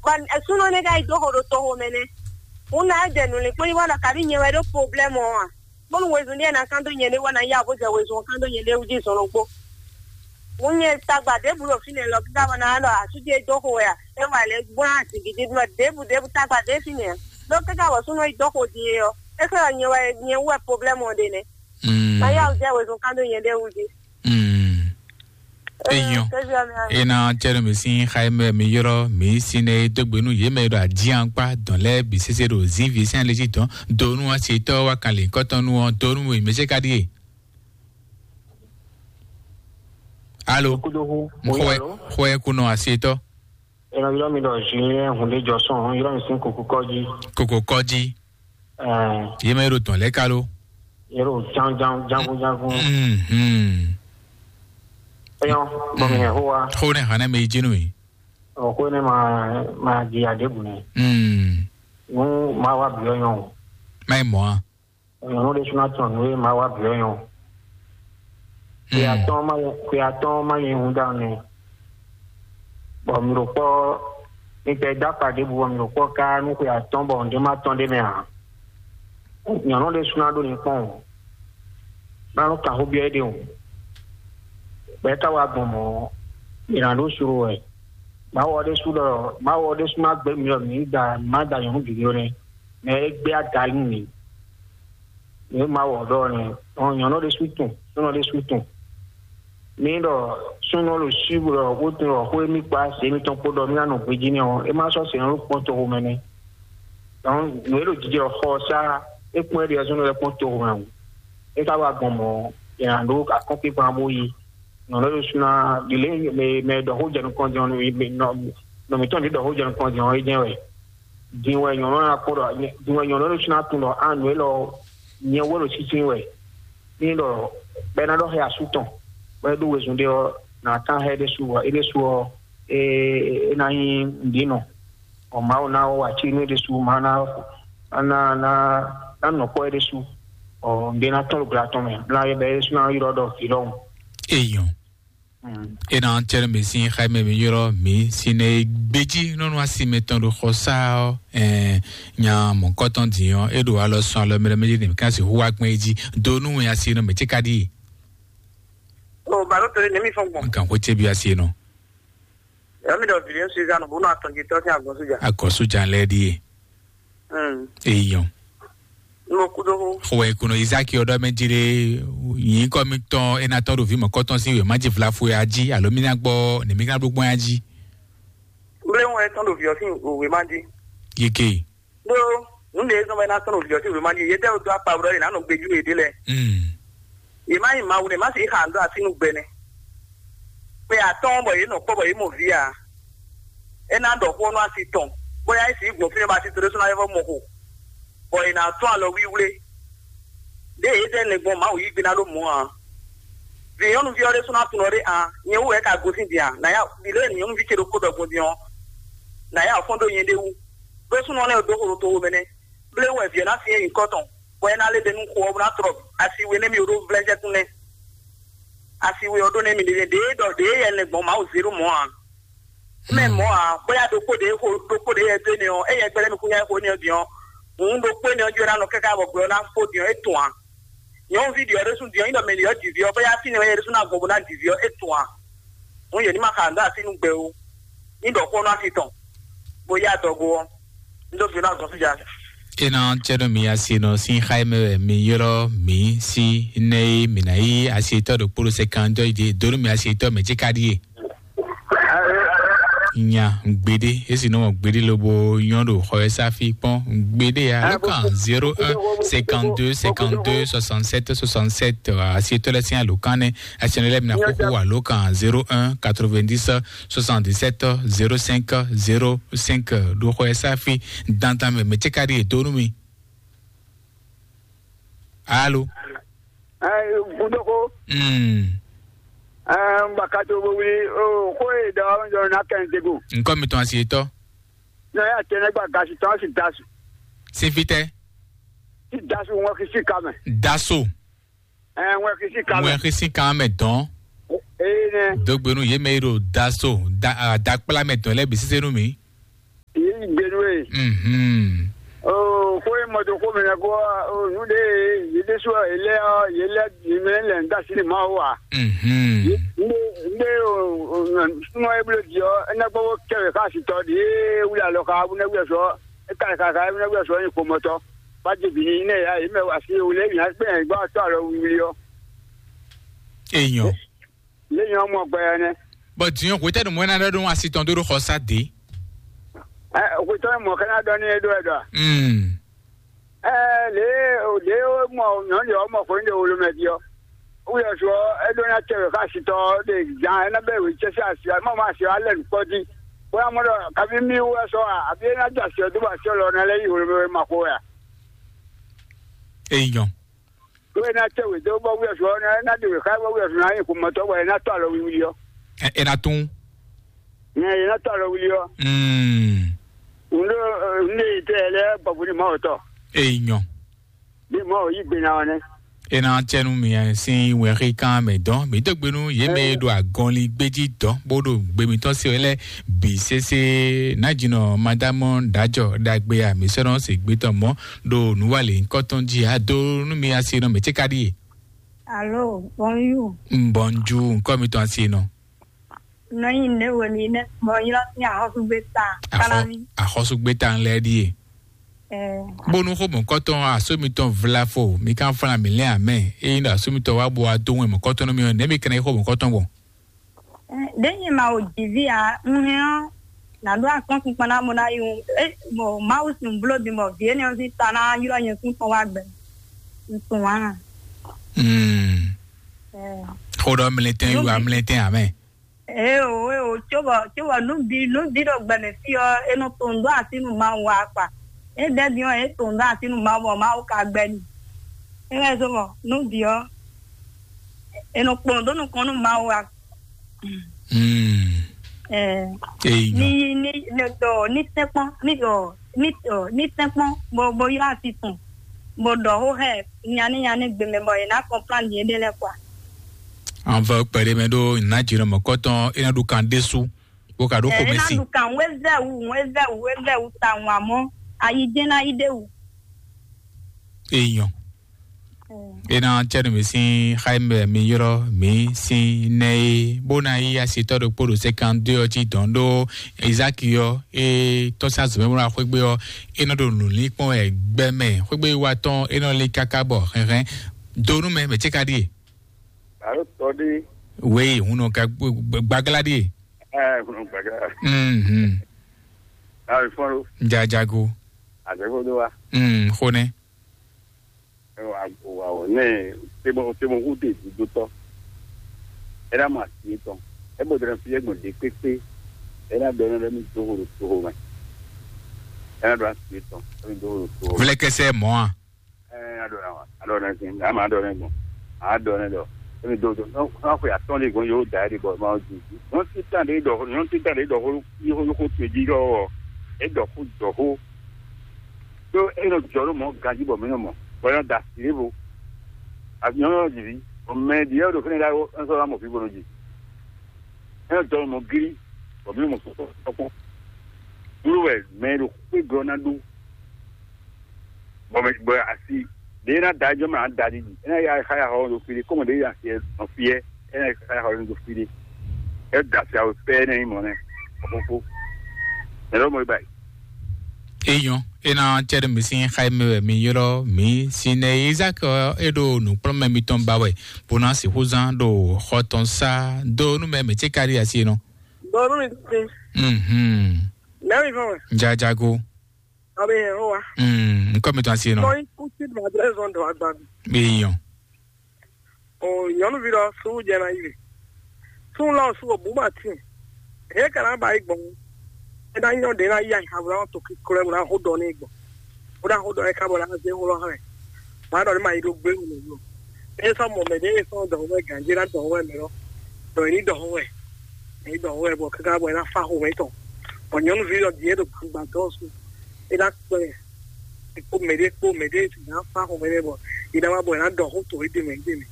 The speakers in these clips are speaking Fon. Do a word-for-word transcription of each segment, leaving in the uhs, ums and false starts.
Bɔ súnɔ nɛ́ ka yi dó xo ɖo toxo mɛ nɛ́. Un ná jɛ nǔlinkpɔ́n yi wá ɖɔ kabí nyɛ wɛ ɖó problème ɔ́ a? Bónú wezun ɖé ná kán dó nyɛ ɖé wá ná yá bó jɛ wezun ɔ́ kán dó nyɛ ɖé wú jí zɔn ɖokpó. Mǔ nyɛ tagba ɖěbǔ ɖo fínɛ́ lɔ kíká bɔ ná ɖɔ asú ce dó xo wɛ a? É wà lɛ́ gbɔn azǐngídí ɖɔ ɖěbǔ ɖěbǔ tagba ɖě fínɛ́ a? Ɖó kíká bɔ súnɔ yi dó xo din é ɔ́, é xlɛ́ ɖɔ nyɛ wɛ nyɛ wú wɛ problème ɔ́ ɖe nɛ́. Mm. Ná yá wú jɛ wezun kán dó nyɛ ɖé wú jí. Mm. Eyɔn. Kévia mi a. Ena cɛɖɔ mi sín xayimɛ mi yɔrɔ mi sín ne dógbenu yé mɛ ɖo adíankpá dɔn lɛ bi sese ɖo zívi sín alé jí dɔn donu asi tɔ wa kan lè kɔtɔnu ɔ donu mi mɛ se ka ɖie. Alo. Kudohu. Xɔɛ xɔɛ kunɔ asi tɔ. Ena yɔrɔ mi ɖɔ Julien hunde jɔsɔn yɔrɔ mi sín kuku kɔji. Koko kɔji. Ɛɛ. Yé mɛ ɖo tɔn lɛ kalo. Yɔrɔ jan jan jangun jangun. Mhm. Eyɔn bɔ mi hɛn ho wa. Xó ne hàn mɛ yi jinu yi. Ɔ xó ne ma ma di adebu ne. Mm. Nu ma wa bi ɔyɔn o. Ma yi mɔ a. Nyɔnu ɖe suna tɔn nu ye ma wa bi ɔyɔn o. Xwe atɔn ma nyɛ xwe atɔn ma nyɛ hun da ne. Bɔ mi ɖo kpɔ mi tɛ da kpa ɖebu bɔ mi ɖo kpɔ ka nu xwe atɔn bɔ nɖe ma tɔn ɖe mɛ a. Nyɔnu ɖe suna ɖo ne kpɔn o. Manu kan xó biɔ ɖe o. Bɛ ka wa gbɔn mɔ. Yina ɖo suru wɛ. Mawu ɔ ɖe su ɖɔ mawu ɔ ɖe su ma gbɛ mi ɖɔ mi da ma da nyɔnu gěgé o nɛ. Mɛ e gbé aga nú mi. Nǔ e Mawu ɔ́ ɖɔ ɔ́ nɛ́. Ɔn nyɔ̌nu ɖésú tunwun, súnɔ ɖésú tunwun. Ní ɖɔ súnɔ ɖo síbu ɖɔ xó tunwun ɖɔ xó émí kpó asi émítɔn kpó ɖɔ mí ná nɔ gbejí n'i ɔ́, é má sɔ́ sɛn ɔ́ ɖo kpɔ́n toxo mɛ nɛ́. Dɔn nǔ e ɖo jijɛ xɔ ɔ́ sá é kpɔ́n é ɖíe súnɔ lɛ́ɛ kpɔ́n toxo mɛ ɔ́, é ka wá gbɔn mɔ̌, è nǎ ɖó akɔ́nkpinkpan bó yí. Nɔ lɛ́ ɖo súnɔ ɖi lě mɛ mɛ ɖɔ xó jɛ nukɔn din ɔ́, nɔ mǐtɔn ɖě ɖɔ xó jɛ nukɔn din ɔ́, é jɛ́n wɛ. Din wɛ nyɔ̌nu ɔ́ ná kpɔ́n ɖɔ din wɛ nyɔ̌nu ɔ́ ɖo sú ná tunwun ɖɔ a nǔ élɔ́ nyɛ wɛ ɖo sísí wɛ. Ní ɖɔ bɔ é ná ɖɔ xɛ asú tɔn, bɔ é ɖó wezun ɖé ɔ́, nǎ kán xɛ é ɖésú ɔ́, é ɖésú ɔ́, é é ná nyí nǔɖínɔ. Bɔ Mawu ná wa cí nú é ɖésú, Mawu ná ná ná ná nɔ kpɔ́ é ɖésú. Bɔ nǔɖé ná tɔ́n ɖo gbla tɔn mɛ, bla é bɔ é ɖésú ná ylɔ́ ɖɔ vǐ ɖɔhun. Eyɔn. Mm. Ena cɛɖɛ mi sín xayimɛ mi ylɔ́ mi sín ne gbejí nɔnɔ asi mɛtɔn ɖo xɔ sá ɔ́, ɛɛ nya mɔ̌kɔtɔn din ɔ́, é ɖo alɔ sɔn alɔ mɛɖɛ mɛɖɛ mi ká si hu wá gbɛn jí do nú wɛn asi nɔ mɛ tí ka ɖi. O balo tole ne mi fɔn gbɔn. Nkan ko tse bi asi nɔ. Yɔ mi ɖɔ vili Suzanne bo nɔ atɔn jí tɔ sín agbɔn sójà. Akɔ sójà lɛ ɖi ye. Mm. Eyɔn. Mo kudo ho. Xɔɛ kunɔ Isaki ɔdɔ mɛ jí ɖe. Yìí kɔ mi tɔn ena tɔn ɖo vi mɔkɔtɔn si wema jí vlafo ya jí alo mi na gbɔ ne mi ka ɖo gbɔn ya jí. Mble ŋu etɔn ɖo vi ɔsi wema jí. Yike. Ɖo nu ɖe zɔn bɛ na tɔn ɖo vi ɔsi wema jí yedɛ do akpa ɖɔ yina nɔ gbeju yede lɛ. Mm. Yema yi mawu ne ma si xa ndo asi nu gbɛ ne. Kpe atɔn bɔ ye nɔ kpɔ bɔ ye mɔ vi a. E na ɖɔ xó nɔ asi tɔn. Bóyá e si gbɔn fi ne ba si to ɖe sɔn na yɛfɔ mɔ xo. Bɔ è nǎ tún alɔ wíwlé. Ɖé yě zɛ nɛ gbɔn Mawu yí gbe ná ɖó mɔ̌ ǎ. Vǐ nyɔ́nuví ɔ́ ɖésú ná tunɔ ɖé ǎ. Nyɛ wú wɛ é ka gosín din a? Nǎ ya ɖi lě e nyɔ̌nuví ce ɖokpó ɖɔ gbɔn din ɔ́, nǎ ya fɔ́n ɖó nyɛ ɖé wú. Ɖó súnɔ lɛ́ɛ dó xo ɖo toxo mɛ nɛ́. Bléwún wɛ vǐ ɔ́ ná syɛ́n nyǐkɔ tɔn, bɔ é ná lé ɖe nú xo ɔ́ bó ná tlɔ asi we nɛ́ mì ɖó vlɛ́jɛ́kún nɛ́. Asi we ɔ́ ɖó nɛ́ mì ɖe ɖě ɖɔ ɖě yɛ lɛ gbɔn Mawu zé ɖó mɔ̌ ǎ. Mɛ mɔ̌ ǎ, bóyá ɖokpó ɖě xo ɖokpó ɖě yɛ dó énɛ́ ɔ́, éyɛ́ gbɛ́ lɛ́ mi kún nyá xo énɛ́ ɔ́ din ɔ́, hǔn ɖokpó énɛ́ ɔ́ jí wɛ ná nɔ káká bɔ gbɛ ɔ́ ná fó din ɔ́, é tun ǎ. Nyɔ̌nuví ɖě ɔ́ ɖésú din ɔ́, nyí ɖɔ mɛ ɖě ɔ́ ji vǐ ɔ́, bóyá fínɛ́ wɛ yɛ ɖésú ná gbɔn bó ná ji vǐ ɔ́, é tun ǎ. Hǔn yě ní ma xa nǔ dó así nú gbɛ ó. Ní ɖɔ xó nú asi tɔn, bó yá adɔgo ɔ́, ní dó fi nú azɔn fíja. Ena cɛɖɔ mi asi nɔ sín xá mɛ wɛ mi ylɔ́ mi sí nɛ e mi ná yí asi tɔ́ ɖo kpóɖó sɛ kan dɔ́ yi dé dó nú mi asi tɔ́ mɛ jí ka ɖíe. Nya gbeɖé esi nɔ gbeɖé lobo nyɔ ɖo xɔ ɛ sáfi kpɔn gbeɖé ya lɔkàn zéro un cinquante deux cinquante deux soixante sept soixante sept asi tɔ́ lɛ sín alɔkàn nɛ asi nɔ lɛ mi na xóxó alɔkàn zéro un quatre vingt dix soixante dix sept zéro cinq zéro cinq ɖo xɔ ɛ sáfi dandan mɛ mɛ jí ka ɖíe dó nú mi. Alo. Ɛ, Gudoko. Mm. Ɛ, Mbakato bo wuli o ko e da wa jɔ na kɛn tego. Nkɔ mi tɔn asi etɔ. Na ya tɛnɛ gba gasi tɔn si dasu. Sifitɛ. Si dasu ŋɔ kisi kamɛ. Daso. Ɛ, ŋɔ kisi kamɛ. Ŋɔ kisi kamɛ dɔn. Ee nɛ. Dogbenu ye mɛ yi ɖo daso da a, dakpla mɛ dɔn lɛ bi sise nu mi. Gbenu e. Mhm. Oo, xó e mɔ dó xó mɛ nɛ kó, oo, nǔ ɖe yě ɖésú ɔ́, yě lɛ́ ɔ́, yě lɛ́ yě mɛ lɛ ń dá sí ní Mawu ǎ. Mhm. Ndé, ndé, oo, súnmọ́ e bló jí ɔ́, é ná gbɔ bó kɛ wě xá asitɔ ɖě wlí alɔ xá, bó ná wí ɔsɔ, é ka xá xá, é ná wí ɔsɔ nyi xomɔtɔ. Bá jɛ bǐ ní nɛ ya, yě mɛ wá sí wulé mǐ á gbé yɛn gbá tɔ́ alɔ wíwlí ɔ́. Èèyàn. Lé nyɔ́ mɔ gbɛ ɔ́ nɛ́. Bɔ dǐn hwetɛ́nu mɔ̌ ná ɖɔ nú asi tɔn dó ɖo xɔ sá dě. Ɛ, hwetɔ́nu mɔ̌ ká ná ɖɔ nú é ɖó wɛ ɖɔ a? Mm. Ɛ, lě lě ó mɔ nyɔ̌nu lě ɔ́ mɔ xwé ɖe wolo mɛ jí ɔ́. Wúyɔ sɔ ɔ́, é ɖó ná tɛ wě xá asi tɔn ɔ́ ɖe zan é ná bɛ́ wě cɛ́ sín asi ɔ́, é má mɔ asi ɔ́ á lɛ nǔ kpɔ́ jí. Bó ná mɔ ɖɔ kaví mí wú wɛ sɔ a, abí é ná jɛ asi ɔ́ dó bɔ asi ɔ́ lɔ ná lɛ́ yí hwemɛ ma xo wɛ a? Èèyàn. Ɖó é ná tɛ wě dó bɔ wúyɔ sɔ ɔ́, é ná ɖe wě xá bɔ wúyɔ sɔ ná nyí xomɔtɔ bɔ é ná tɔ alɔ wiwi ɔ́. Ɛ ɛ na tún. Nyɛ é ná tɔ alɔ wiwi ɔ́. Mm. Nɖó nɖé tɛ lɛ gbɔgbɔ ní mɔ tɔ. Èèyàn. Bí mɔ yí gbe ná ɔ́ nɛ. É ná tɛ nú mi sín wɛnxí kan mɛ dɔn mi dó gbe nú yě mɛ e ɖo agɔnlin gbéjí dɔn bó ɖo gbe mitɔn se wɛ lɛ bǐ sésé. Nájínɔ madámɔ ɖájɔ ɖagbe a mi sɔ́ nɔ se gbé tɔn mɔ́ ɖo nǔwalě ŋkɔtɔn jí a dó nú mi asi nɔ mɛ cé ka ɖíe. Alo, bonjour. Mbɔnjú ŋkɔ mitɔn asi nɔ. Nɔ nyi ne wɛ mi ne bɔ ylɔ sin axɔsugbe ta. Axɔ Kalami. Axɔsugbe ta ŋlɛ ɖíe. Ɛɛ. Bónú xó mɔ̌kɔtɔn asó mitɔn vla fo mi kan flan mi lɛ́n amɛ. Ényí ɖo asó mitɔn wá bo wá dó wɛn mɔ̌kɔtɔn nú mi ɔ́, nɛ̌ mi kɛnɛ xó mɔ̌kɔtɔn gbɔn? Ɖé nyɛ ma wo jǐví ǎ, un hɛn ɔ́, nǎ ɖó akɔ́nkpinkpan ná mɔ ná yi wu. Bɔ Mawu sín bló din bɔ vǐ énɛ́ ɔ́ sín ta ná ylɔ́ nyɛ kún tɔn wá gbɛ. Un tunwun ǎ. Mm. Xó ɖɔ mlɛtɛn yi wa mlɛtɛn amɛ. Eo eo, cóbɔ cóbɔ nǔ bǐ nǔ bǐ ɖo gbɛ mɛ fí ɔ́, é nɔ to nǔ dó así nú Mawu wá kpa. É ɖɛ́ din ɔ́, é to nǔ dó así nú Mawu bɔ Mawu ka gbɛ́ n'i. É wɛ zɔ́n bɔ nǔ bǐ ɔ́, è nɔ kplɔ́n dó nukɔn nú Mawu wá. Mm. Ɛɛ, Eyi ní nyɔ. Ní ní ní tɛ́nkpɔ́n ní ní ní tɛ́nkpɔ́n bó bó ylɔ́ asi tɔn bó ɖɔ xó xɛ nyaní nyaní gbe mɛ bɔ è nǎ kɔnplán yěɖée lɛ́ɛ kpa. An vɔ kpɛɖé mɛ ɖó nǎ jǐnɔ mɔ̌kɔtɔn é ná ɖu kan ɖésú bó ka ɖó xomɛ si. Ná ɖu kan wézɛwu wézɛwu wézɛwu tawun amɔ́ ayi jɛ́n ná yi ɖéwu. Eyi nyɔ. É ná cɛ́ nú mi sín xá e mɛ mi ylɔ́ mi sín nɛ́ é, bó ná yí asitɔ́ ɖokpó ɖo sɛ́kán dó ɔ́ jí dɔn ɖó Izáki ɔ́, é tɔ́ sín azɔ̌ mɛ bó ná xwégbé ɔ́, é nɔ ɖo nǔlín kpɔ́n wɛ gbɛ mɛ. Xwégbé wa tɔn é nɔ lín káká bɔ hɛnhɛn dó nú mɛ mɛ cé ka ɖíe. Alo tɔ ɖé. Wéyi hun nɔ ka gbaglá ɖíe. Ɛ hun nɔ gbaglá. Mhm. Ayi fɔn lo. Jajago. Azɛgo do wa. Mm, xonɛ. Wa wa ne temo temo hu de dudu tɔ. Era ma si tɔn. E bo dre fi e gbɔn de kpekpe. Era dɔ ne mi do ho do ho mɛ. Era do asi tɔn. Mi do ho do ho. Vlɛ kɛsɛ mɔ a. Ɛɛ, aɖɔ na wa, aɖɔ na sin, ama aɖɔ na gbɔn, aɖɔ na dɔ, emi do do, n'axɔ atɔn de gbɔn yóò da ɛdi bɔ ma ju. Nyɔnu titan de dɔ, nyɔnu titan de dɔ xó, yóò xó to jí dɔ, e dɔ xó dɔ xó. Tó e nɔ jɔ ɖo mɔ ganji bɔ mi nɔ mɔ, bɔ yɔ da si bo. Abi nyɔnu yɔ jivi, o mɛ di yɔ ɖo fɛnɛ da wo, ɛn sɔ la mɔ fi bo nɔ ji. E nɔ jɔ ɖo mɔ giri, bɔ mi nɔ mɔ sɔkpɔ. Wúlò wɛ mɛ ɖo xwé gblɔ ná ɖó. Bɔ mɛ bɔ asi ɖe ná da jɔ mɛ da ɖi. E ná ya xa ya xɔ ɖo fi ɖe, kɔmɔ ɖe ya fiɛ nɔ fiɛ, e ná xa ya xɔ ɖo fi ɖe. E da fi awo pɛ ne yi mɔ ne. Ɔkpɔkpɔ. Mɛ lɔ mɔ ba yi. Eyɔn, e ná cɛ ɖe mi sín xa yi mɛ wɛ mi ylɔ mi si nɛ Izaki ɔ, e ɖo nǔkplɔ́nmɛ mitɔn ba wɛ, bó ná sixú zán ɖo xɔ tɔn sá dó nú mɛ mɛ cé kárí asi nɔ. Dó nú mi tún. Mhm. Nɛ mi fɔn wɛ. Jajago. Abe yẹn o wa. Mm, nkɔ mi tɔn asi nɔ. Nɔ ikú tí màdúrà zɔn dɔ agba mi. Eyɔn. O nyɔnuvi lɔ sugu jɛ na yi le. Sugu lɔ sugu bu ma tin. He kana ba yi gbɔn. E na nyɔ de na yi ayi habula to ki klo mu na ho dɔ ne gbɔn. O na ho dɔ e ka bɔ na ze ho lɔ hɛ. Ma dɔ ne ma yi do gbe mu lo. E sɔ mɔ mɛ de e sɔ dɔ ho mɛ ganje na dɔ ho mɛ mɛ lɔ. Dɔ ni dɔ ho mɛ. Ni dɔ ho mɛ bɔ kaka bɔ e na fa ho mɛ tɔn. Bɔ nyɔnuvi lɔ die do gbangba dɔ su. E na kpɛ. Kpó mɛ ɖé kpó mɛ ɖé si ná fa xɔmɛ nɛ bɔ yi ná wá bɔ yi ná ɖɔ xó to éɖé mɛ éɖé mɛ.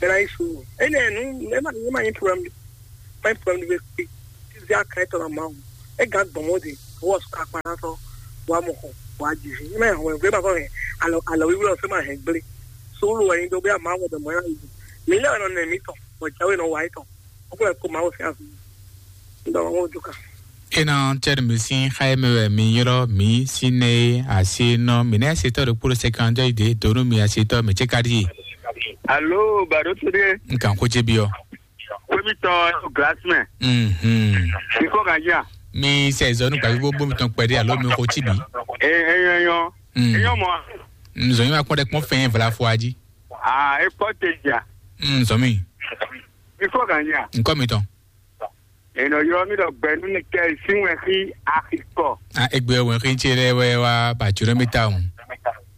Bɛ ná yi su. Énɛ́ nu ɛ má ɛ má nyí problème. Má nyí problème ɖé kpé. Títí akan étɔn ná má wù. É gán gbɔn mɔ de. Wɔ sɔ́ akpa ná sɔ́, wá mɔ xɔ, wá jiji. Mɛ hɔn gbé ma kɔ hɛn alɔ alɔ wíwú lɔ fɛ ma hɛn gblé. Sólo wɛ nyi dó gbé ama wɔ dɔmɔ yá yìí. Mi lɛ nɔ nɛ mi tɔn, wɔ jáwé nɔ wá yi tɔn. O ko ko ma wo fɛ afi. Ndɔ wo du kan. Ena tɛri mi sin xaye mɛ wɛ mi ylɔ mi sine asi nɔ mi nɛ se tɔ ɖo kpolo sɛkan jɔ ide donu mi asi tɔ mi tse kadi. Alo, baro to de. Nkan ko je bi ɔ. Kwemi tɔ glass mɛ. Mhm. Ikɔ kan ja. Mi sɛ zɔnu gbavi bo bo mi tɔn kpɛdi alo mi ko tsi bi. E e yɔ yɔ. Mm. E yɔ mɔ. Nzɔnyi ma kpɔn ɖe kpɔn fɛn vla fo aji. Ah, e kpɔ te ja. Mm, zɔmi. Ikɔ kan ja. Nkɔ mi tɔn. Enɔ yɔ mi ɖɔ gbɛnu ni kɛ sin wɛ xi axi kɔ. A egbe wɛ xi tse lɛ wɛ wa ba tso mi ta o.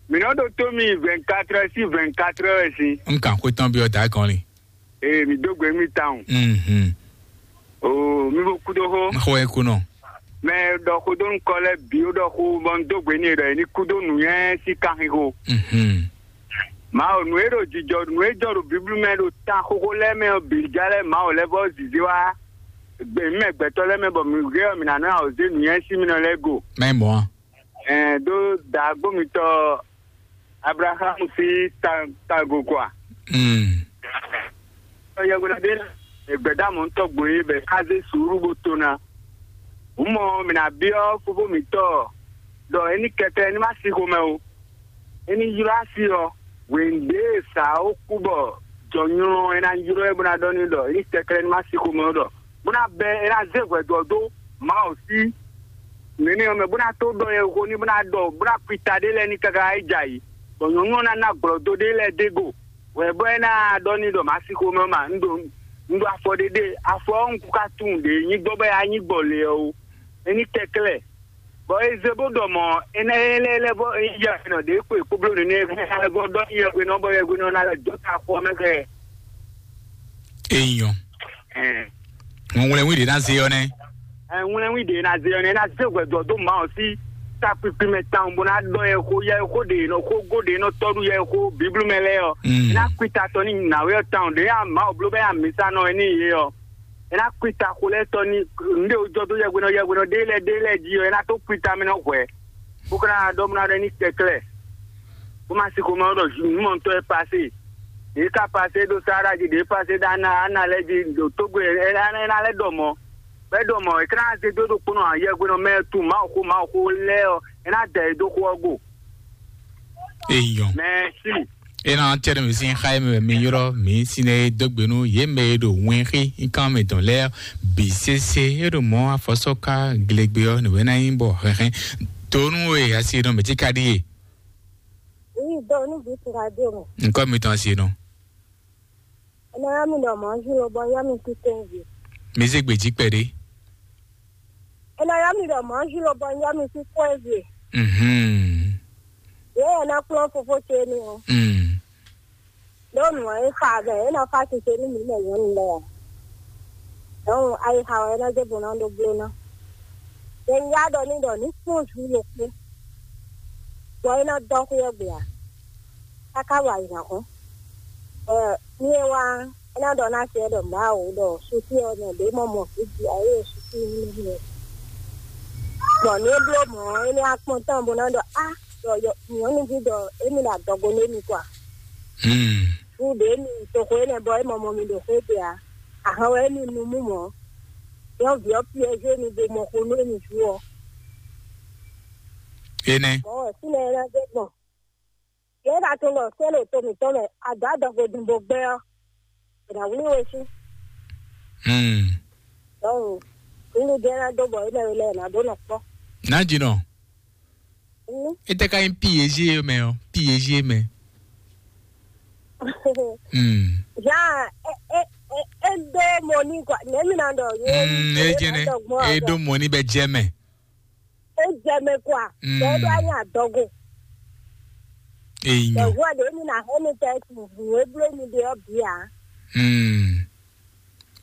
Mi nɔ ɖo tó mi vingt-quatre heures si vingt-quatre heures si. Nkan ko tɔn bi ɔ da gɔn li. Ee, mi dó gbe mi tawun. Mhm. Oo, mi bo kú dó xó. Xó e kú nɔ. Mɛ ɖɔ xó dó nukɔ lɛ́ɛ bǐ ó ɖɔ xó bɔ un dó gbe n'i ɖɔ è ní kú dó nǔnywɛ́ sín kanxixo. Mhm. Mawu, nǔ e ɖo jijɔ, nǔ e jɔ ɖo Biblu mɛ ɖo tan xóxó lɛ́ɛ mɛ ɔ́ bǐ já lɛ́ Mawu lɛ́ vɔ zǐzé wá gbě mɛ gbɛtɔ́ lɛ́ɛ mɛ bɔ mǐ hɛn ɔ́, mǐ ná nɔ awǒ zé nǔnywɛ́ sín mì nɔ lɛ́ɛ go. Mɛ mɔ̌ a? Ɛn ɖó daagbó mitɔn Ablaham sín ta- tago kɔ a? Mm. Yɛhweɖaɖé e gbɛ̌dámɔ̌tɔ́ gbo é bɔ è ká zé suúlu bó to ná. Hǔn mɔ mǐ ná byɔ́ fofó mǐtɔn ɖɔ é ní kɛkɛ́ ní má sí xomɛ ó. É ní ylɔ́ asi ɔ́, hwěnu ɖě e sǎ ó kú bɔ jɔ̌nylɔ́ ɔ́, é ná ylɔ́ ɛ bó ná ɖɔ n'i ɖɔ é ní kɛkɛ́ ní má sí xomɛ ó ɖɔ bó ná bɛ́ é ná zé hwɛ̌dɔ́ dó Mawu sí nɛnɛ ɔ́ mɛ bó ná tó ɖɔ yɛhwexó ní bó ná ɖɔ bó ná kú ita ɖé lɛ́ɛ ní káká é jɛ ayǐ, bɔ nyɔ̌nu ɔ́ ná ná glɔ̌ dó ɖé lɛ́ɛ dó go hwɛ bɔ é ná ɖɔ n'i ɖɔ mǎ sí xomɛ ɔ́ ma un ɖo un ɖo afɔ ɖé ɖe afɔ ɔ́ un kú ká tunwun ɖě nyí gbɔ bɔ é wá nyí gbɔ le ɔ́ ó. É ní kɛklɛ́ bɔ é zé bó ɖɔ mɔ̌ é ná é lɛ́ lɛ́ vɔ é yí yɛhwenɔ ɖě kpo é kpo bló nɛnɛ é vɔ ɖɔ yɛhwenɔ bɔ yɛhwenɔ ná lɛ́ dó ta xɔ mɛ xɛ. Enyɔ. Ŋɔŋlɛnwi ɖě ná zé ɔ́ nɛ́. Ŋwlɛnwi ɖě ná zé ɔ́ nɛ́ ná zé hwɛ̌dɔ́ dó Mawu sí takpikpi mɛ tawun bó ná ɖɔ yɛ xó yɛ xó ɖě nɔ xó gó ɖě nɔ tɔ́ ɖu yɛ xó Biblu mɛ lɛ́ɛ ɔ́. Mm. É ná kú ta tɔn ní nǎwe ɔ́ tawun ɖě ya Mawu bló bɛ ya mǐsa nɔ é ní yě ɔ́. É ná kú ta xó lɛ́ɛ tɔn ní nǔɖé wú jɔ dó yɛhwenɔ yɛhwenɔ ɖé lɛ́ɛ ɖé lɛ́ɛ jí ɔ́, é ná tó kú ta mɛ nɔ hwɛ̌. Bó ka ná ɖɔ bó ná ɖɔ ní kɛklɛ́. Bó ma si xomɛ ɖɔ nǔmɔtɔ́ e pasé. Ɖě ka pasé ɖo Sahara jí, ɖě pasé ɖo Ana Ana lɛ́ɛ jí ɖo Tógó e é ná é ná lɛ́ ɖɔ mɔ̌. Bɔ é ɖɔ mɔ̌, é ka ná zé dó ɖokpónɔ yɛhwenɔ mɛ e tunwun Mawu xó Mawu xó lɛ́ɛ ɔ́, é ná da yě dó xó ɔ́ go. Eyɔ. Mɛsi. Ena tɛɖɛ mi sin xa mi mi yɔrɔ mi sin ne dogbe nu ye mɛ ɖo wɛn xi nkan mi dɔn lɛ bi sese e ɖo mɔ afɔsɔ ka glegbe ɔ ne wɛ na yin bɔ hɛhɛ tonu e asi nɔ mɛ ti ka ɖi ye. Wi dɔ nu bi ti ka ɖi o. Nkɔ mi tɔn asi nɔ. Ena ya mi dɔ mɔ ju lo bɔ ya mi ti tɛn vi. Mi se gbe ji kpɛ ɖe. Ena ya mi dɔ mɔ ju lo bɔ ya mi ti tɛn vi. Mhm. Ye ya na kplɔn fofo ce ni o. Mm. Ɖó nǔ e xa vɛ é nɔ xa sise nú mǐ mɛ nyɔ̌nu lɛ́ɛ ǎ. Dɔn ayixa wɛ é nɔ zé bo ná ɖó bló ná. Yɛ ya ɖɔ ní ɖɔ ní kpɔ́n zǔ ɖokpó, bɔ é ná dɔ́ xwé ɔ́ gbe ǎ, káká wa yi hɔn. Bɔ ní é wá é ná ɖɔ ná sɛ ɖɔ Mawu ɖɔ susi ɔ́ nɔ ɖě mɔ mɔ vǐ jí ayé susi ní nɔ. Bɔ ní é bló mɔ̌ é ní wá kpɔ́n tɔn bó ná ɖɔ á ɖɔ nyɔ̌nuví ɖɔ émí ɖo adɔgo nú émí kɔ a? Hmm. Fú ɖě mi toxo énɛ́ bɔ é mɔ mɔ mi ɖo xwé ɖe ǎ. Ahɔn wɛ émí nu mú mɔ̌. Nyɔ̌vǐ ɔ́ piɛ́zé mi bo mɔ xo nú émí vú ɔ́. Énɛ́. Mɔ̌ wɛ fínɛ́ é ná zé gbɔn. Yě ɖa tunwun ɖɔ sɛ́n ɖo to mǐtɔn mɛ, adǎ adɔgo din bo gbɛ́ ɔ́, è nǎ wlí we sú. Hmm. Dɔnku, nínú jẹ́ ná dó bɔ énɛ́ we lɛ́ɛ ná dó nɔ kpɔ́. Nǎjínɔ. Hmm. Étɛ́ ká nyí P A G mɛ ɔ́, P A G mɛ. Hmm. Jean, é é é é dó mɔ ní kɔ, nɛ̌ mi ná ɖɔ? Mm, é jɛnɛ, é dó mɔ ní bɛ jɛ mɛ. É jɛ mɛ kɔ a? Mm. Bɛɛ ɖo anyi adɔgo. Eyi nyɔ. Bɛɛ wɔ ɖe mi na hɛn mi tɛ tu nǔ e bló mi ɖe ɔ́ bǐ a? Mm.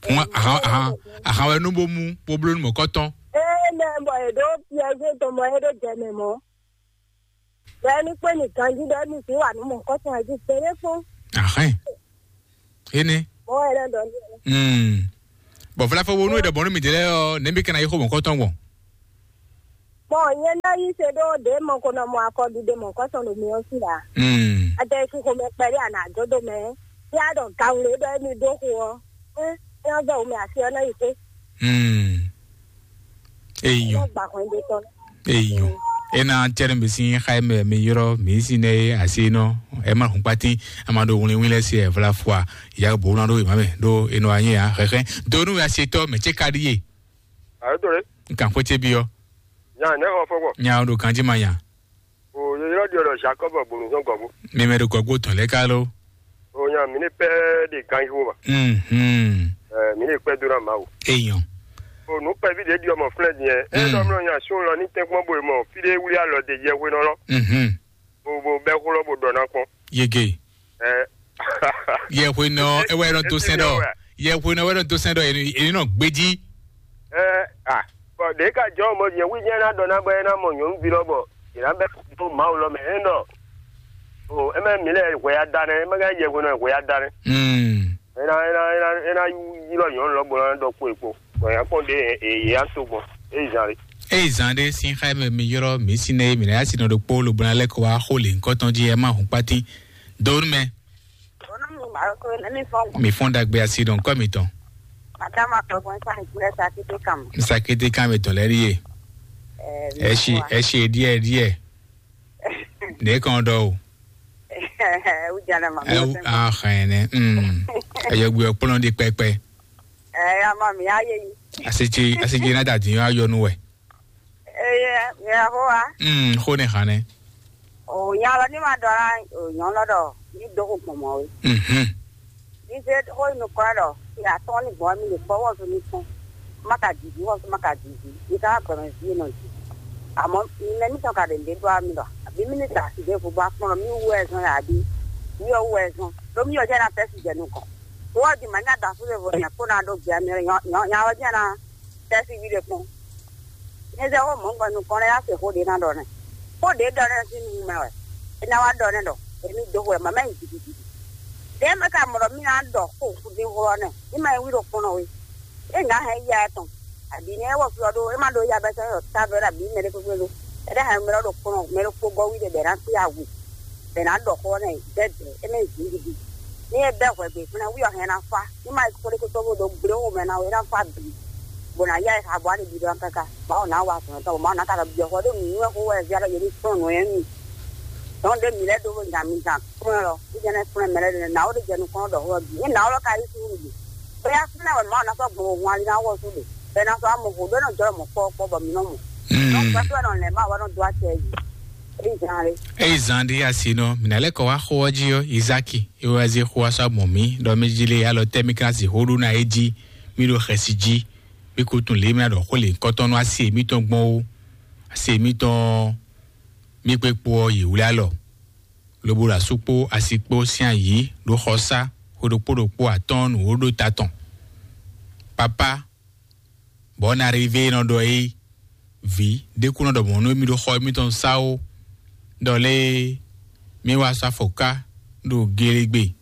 Fún ahan ahan ahan wɛ nú bó mú bó bló nú mɔ̌kɔtɔn. Ee mɛ bɔ è ɖo piɛzé tɔn mɔ é ɖo jɛ mɛ mɔ. Bɛɛ ní kpé mi ganjí ɖɔ mi fi wà nú mɔ̌kɔtɔn ɛ jí gbére kpɔ́n. Ahɛn. Énɛ́. Mɔ wɛ lɛ ɖɔ ní. Mm. Bɔ vlafɔ wo nú e ɖɔ bɔn nú mi dě lɛ ɔ, nɛ̌ mi ka ná yi xó mɔ̌kɔtɔn gbɔn? Bɔn nyɛ ná yí se ɖó ɖě mɔ ko nɔ mɔ akɔɖiɖe mɔ̌kɔ́tɔn ɖo mi ɔ́ sí ǎ. Mm. Adɛ xixo mɛ kpɛɖé a nǎ dó dó mɛ. Yá ɖɔ gǎnwle ɖɔ émí ɖó xo ɔ́. É é ɔ́ vɛ wǔ mɛ asi ɔ́ ná yi xwé. Mm. Eyɔ. Ná gba hwɛndo tɔn. Eyɔ. Ena cɛrɛ mi sin xa mɛ mi yɔrɔ mi sin ne asi nɔ. Ema hun kpati ama ɖo wlin wlin lɛ si ɛvla fua. Ya bo na ɖo ima mɛ ɖo enɔ anyi ya xɛxɛ. Donu asi tɔ mɛ tse ka ɖi ye. Ayo to ɖe. Nkan xwete bi ɔ. Nya ne xɔ fɔ gbɔ. Nya o ɖo kanji ma nya. O yeyɔ ɖi ɔlɔ Jacob gbonu sɔn gɔbu. Mi mɛ ɖo gɔgbo tɔn lɛ ka lo. O nya mi ne pɛ de ganji wo ma. Mhm. Ɛ mi ne pɛ do na ma o. Eyɔn. O nu pɛ vi de di ɔmɔ flɛ diɛ. E Mm. dɔ mlɔ nya sun lɔ ni tɛnkpɔn bo mɔ fi de wuli alɔ de yɛ hwe nɔ lɔ. Mhm. Bo bo bɛ xulɔ bo dɔ na kpɔn. Yege. Ɛ. Yɛhwenɔ ewɛ nɔ dó sɛn ɖɔ. Yɛhwenɔ ewɛ nɔ dó sɛn ɖɔ èyí nɔ gbéjí. Ɛ a bɔn ɖe ka jɔ mɔ nyɛ wí nyɛ na dɔ na bɔ ena mɔ nyɔnuvi lɔ bɔ yena bɛ do mawu lɔ mɛ ɛ nɔ. O eme mi lɛ hwɛ ya da nɛ eme ka yɛhwenɔ hwɛ ya da nɛ. Mm. Ena ena ena ena yi lɔ nyɔnu lɔ bo na dɔ kpo ekpo bɔn ya kpɔn ɖe e ya to gbɔn e zan le. Eyi zan ɖe sin xa mɛ mi yɔrɔ mi si ne mi na ya si nɔ ɖo kpo lobona lɛ ko wa xo le nkɔtɔn ji ɛ ma hun kpati. Donu mɛ. Onu mi ma ko ne mi fɔn. Mi fɔn dagbe asi ɖɔn kɔ mi tɔn. Madama ko ko sa ni kule sa kiti kam. Sa kiti kam mi tɔn lɛ ri ye. Ɛ si ɛ si diɛ diɛ. Ne kɔn dɔ o. Ɛ u jana ma. Ɛ u a xɛn ne. Mm. Ɛ yɛ gbe kplɔn di pɛpɛ. Ɛ ya ma mi aye yi. Asi ti asi ti na da di yɔ ayɔ nu wɛ. Eye, mi yɛ xo wa. Mm, xo ne xan ne. O nya lɔ ni ma dɔ na o nyɔnu lɔ dɔ ni do ko gbɔn mɔ we. Mhm. Ni se xo yi nukɔn lɔ ya tɔn ni gbɔn mi le kpɔ wɔzu ni kpɔn. Ma ka didi wɔzu ma ka didi. Ni ka gbɛmɛ vi nɔ di. Amɔ mi mɛ mi tɔn ka ɖe nde do ami lɔ. Abi mi ni ta si de vo ba kpɔn mi wu ɛzɔn ya abi. Mi yɔ wu ɛzɔn. Do mi yɔ jɛ na fɛ si jɛ nukɔn. Wɔ di ma nya da fu de vo nya ko na do gbɛ mi nya nya wɔ jɛ na. Tɛ́síví ɖé kpɔ́n. Nyɛ zɛ xó mɔ̌ gbɔ nukɔn lɛ́ɛ yá se xó ɖě ná ɖɔ nɛ́. Xó ɖě ɖɔ nɛ́ sín nu mɛ wɛ. É ná wá ɖɔ nɛ́ ɖɔ èmi dó hwɛ mama yi gidigidi. Ɖěe mɛ ka mɔ ɖɔ mí ná ɖɔ xó fúdín xó ɔ́ nɛ́. Ní ma yi wí ɖo kpɔ́n ɔ́ é. É ŋǎ hɛn yá ɛ tɔn. Abǐ ní é wɔ fí ɔ́ ɖó é má ɖó yá bɛ́ sɛ́ ɖɔ távo ɖo abǐ mɛ ɖé kpékpé ɖó. É ɖá hɛn mɛ ɖɔ ɖo kpɔ́n ɔ́, mɛ ɖokpó gɔ́ wí ɖé bɛ̌ ná kpé awu. Bɛ̌ ná ɖɔ xó ɔ́ nɛ́ dɛ̌dɛ̌ é mɛ zǐngídi. Ní é bɛ́ hwɛ̌gbe fúnɛ wí ɔ́ hɛn ná fá. Ní ma yi kpóɖékpótó bó ɖó gblé xomɛ ná wɛ é ná fá bǐ. Bó ná yá ɛ xa bó wá ɖi ɖiɖɔ káká. Mawu ná wa azɔ̌ tɔn, Mawu ná ka ɖɔ byɔ̌ xɔ ɖó nǔnywɛ́ xó wɛ zia ɖɔ yě ní kplɔ́n nǔ nyɔ́ nú mì. Dɔ̌n ɖé mǐ lɛ́ ɖó nya mi zan kplɔ́n lɔ, í jɛ́n ná kplɔ́n mɛ lɛ́ɛ ɖé nǎ ó ɖe jɛ nukɔn ɖɔ xó ɔ́ bǐ. É nǎ ó lɔ ka yí sú ɖě. Bóyá fínɛ́ wɛ Mawu ná sɔ́ gbɔn wò hun ali ná wɔ sú ɖě. Bɔ é ná sɔ́ wá mɔ xó ɖó é nɔ jɔ mɔ kpɔ́ kpɔ́ bɔ mǐ nɔ mɔ. Dɔn pɛ́pɛ́ wɛ nɔ lɛ̌ Mawu wɛ nɔ dó acɛ yě. É nyí zan lé. Eyi zan ɖi asi nɔ, mina lɛ kɔ wá xó ɔ́ jí ɔ́, Izaki, é wá zé xó wá sɔ́ mɔ mǐ, ɖɔ mí jí lé alɔ tɛ́ mí ka si xó ɖó ná é jí, mí ɖo xɛsi jí, mí ko tunwun lě mí ná ɖɔ xó lě kɔ́tɔ́ nú asi mítɔn gbɔn ó. Asi mítɔn mí kpé kpo ɔ́ yě wlí alɔ, lobo ɖo asú kpó asi kpó sín ayǐ ɖó xɔsá xwe ɖokpó ɖokpó atɔ́ɔ́n nǔ wó ɖó ta tɔn. Papá, bɔ ɔ́ ná ɖi vé nɔ ɖɔ é vǐ ɖé kú nɔ ɖɔ mɔ̌ nú émí ɖo xɔ émítɔn sá ó, ɖɔ lé mí wá sɔ́ afɔ ká ɖo gelegbe.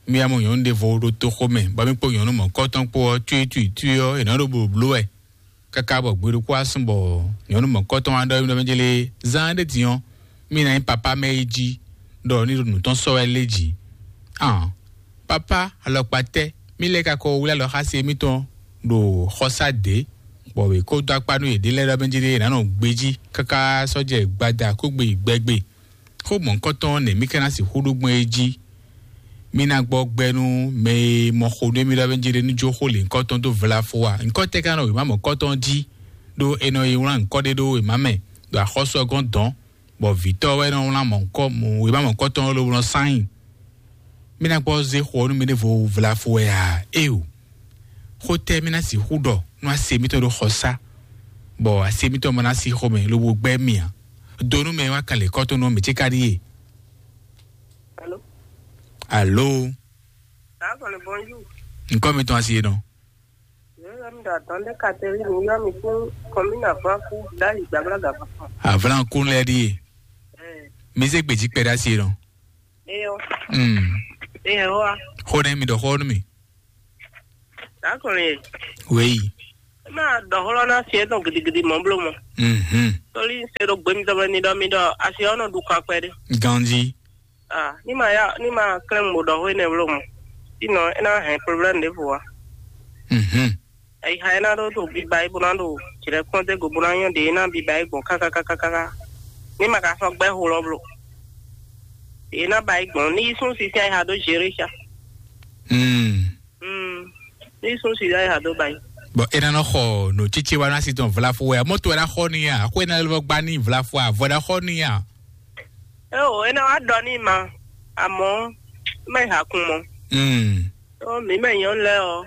Mí wá mɔ nyɔ̌nu ɖěvo ɖo toxo mɛ, bɔ mí kpó nyɔ̌nu mɔ̌kɔtɔn kpó ɔ́, tuitui tui ɔ́, è nǎ ɖo blǒblǒ wɛ káká bɔ gbe ɖokpó wá sún bɔ nyɔ̌nu mɔ̌kɔtɔn wá ɖɔ émí ɖɔ mɛ jɛ lé zán ɖé din ɔ́, mí ná nyí papá mɛ é jí, ɖɔ ní ɖo nǔ tɔn sɔ́ wɛ lé jǐ. Ǎn, papá alɔkpa tɛ́ mí lɛ́ ka ko wlí alɔ xá se émítɔn ɖo xɔsá dě, bɔ wě kó dó akpá nú yěɖée lɛ́ɛ ɖɔ mɛ jí ɖé è nǎ nɔ gbejí káká sɔ́ jɛ gbada kó gbe yi gbɛgbe. Xó mɔ̌hunkɔtɔn nɛ̌ mí ka ná sixú ɖó gbɔn é jí? Mí ná gbɔ gbɛ nú mɛ e mɔ xo nú émí ɖɔ mɛ jí ɖé ní jó xó lě nyǐkɔ tɔn dó vlafo a? Nyǐkɔ tɛ́ ka nɔ wěma mɔ̌hunkɔtɔn jí, ɖó è nɔ yi wlán nyǐkɔ ɖé ɖó wěma mɛ, ɖo axɔ́sú ɔ́ gɔ́n dɔ̌n, bɔ vǐtɔ́ wɛ nɔ wlán mɔ̌hunkɔ wěma mɔ̌hunkɔtɔn ɔ́ lobo nɔ sán nyi. Mí ná gbɔ zé xo ɔ́ nú mɛ ɖěvo vlafo wɛ a? Éeǒ. Xó tɛ́ mí ná sixú ɖɔ nú ase mítɔn ɖo xɔsá, bɔ ase mítɔn ma ná sí xomɛ lobo gbɛ́ mì ǎ? Do nú mɛ e wá kan lě kɔ́ tó nú mì ce ka ɖíe. Alo. Alo. Alo, bonjour. Ŋkɔ mitɔn asi e nɔ. Yóò yɔ mi ɖɔ atɔn ɖe kateli mi yɔ mi fún kɔmina fún akú ɖ'ayi gbàgbla gàfà. Avlan kun lɛ ɖíe. Ɛ. Mi zé gbèjì kpɛ ɖ'asi e nɔ. Eyɔ. Hmm. Eyɔ wa. Xó ɖe mi ɖɔ xó nú mi. Dakɔn ye. Wéyi. Ema ɖɔ xlɔ́ ná si etɔn gidigidi mɔ̌ bló mɔ. Mhm. Toli se ɖo gbe mitɔn mɛ ni ɖɔ mi ɖɔ asi ɔ́ nɔ ɖu kan kpɛɖé. Ganji. Ah, ní ma ya ní ma klɛ́n mo ɖɔ xó énɛ́ bló mɔ. Sinɔ é ná hɛn problème ɖěvo wá. Mhm. Ayixa é ná ɖó ɖo biba yi bó ná ɖo jlɛ̌ kpɔ́n dé go bó ná nyɔ́ ɖě é ná biba yi gbɔn kákákákáká. Ní ma ka sɔ́ gbɛ́ xo lɔ bló. Ɖě é ná ba yi gbɔn ní yi sún sísí ayixa ɖó zérésa. Hmm. Hmm. Ní sún sísí ayixa ɖó ba yi. Bɔn é ná nɔ xɔ nǔtsitsi wa ná si tɔn vlafo wɛ mɔtò é ná xɔ ní ya xó é ná lɔ gba ní vlafo avɔ é ná xɔ ní ya. É o é ná wá ɖɔ ní ma, àmọ́ má yi hakun mɔ. Hmm. Ó mǐ mɛ nyɔ̌nu lɛ́ɛ ɔ́,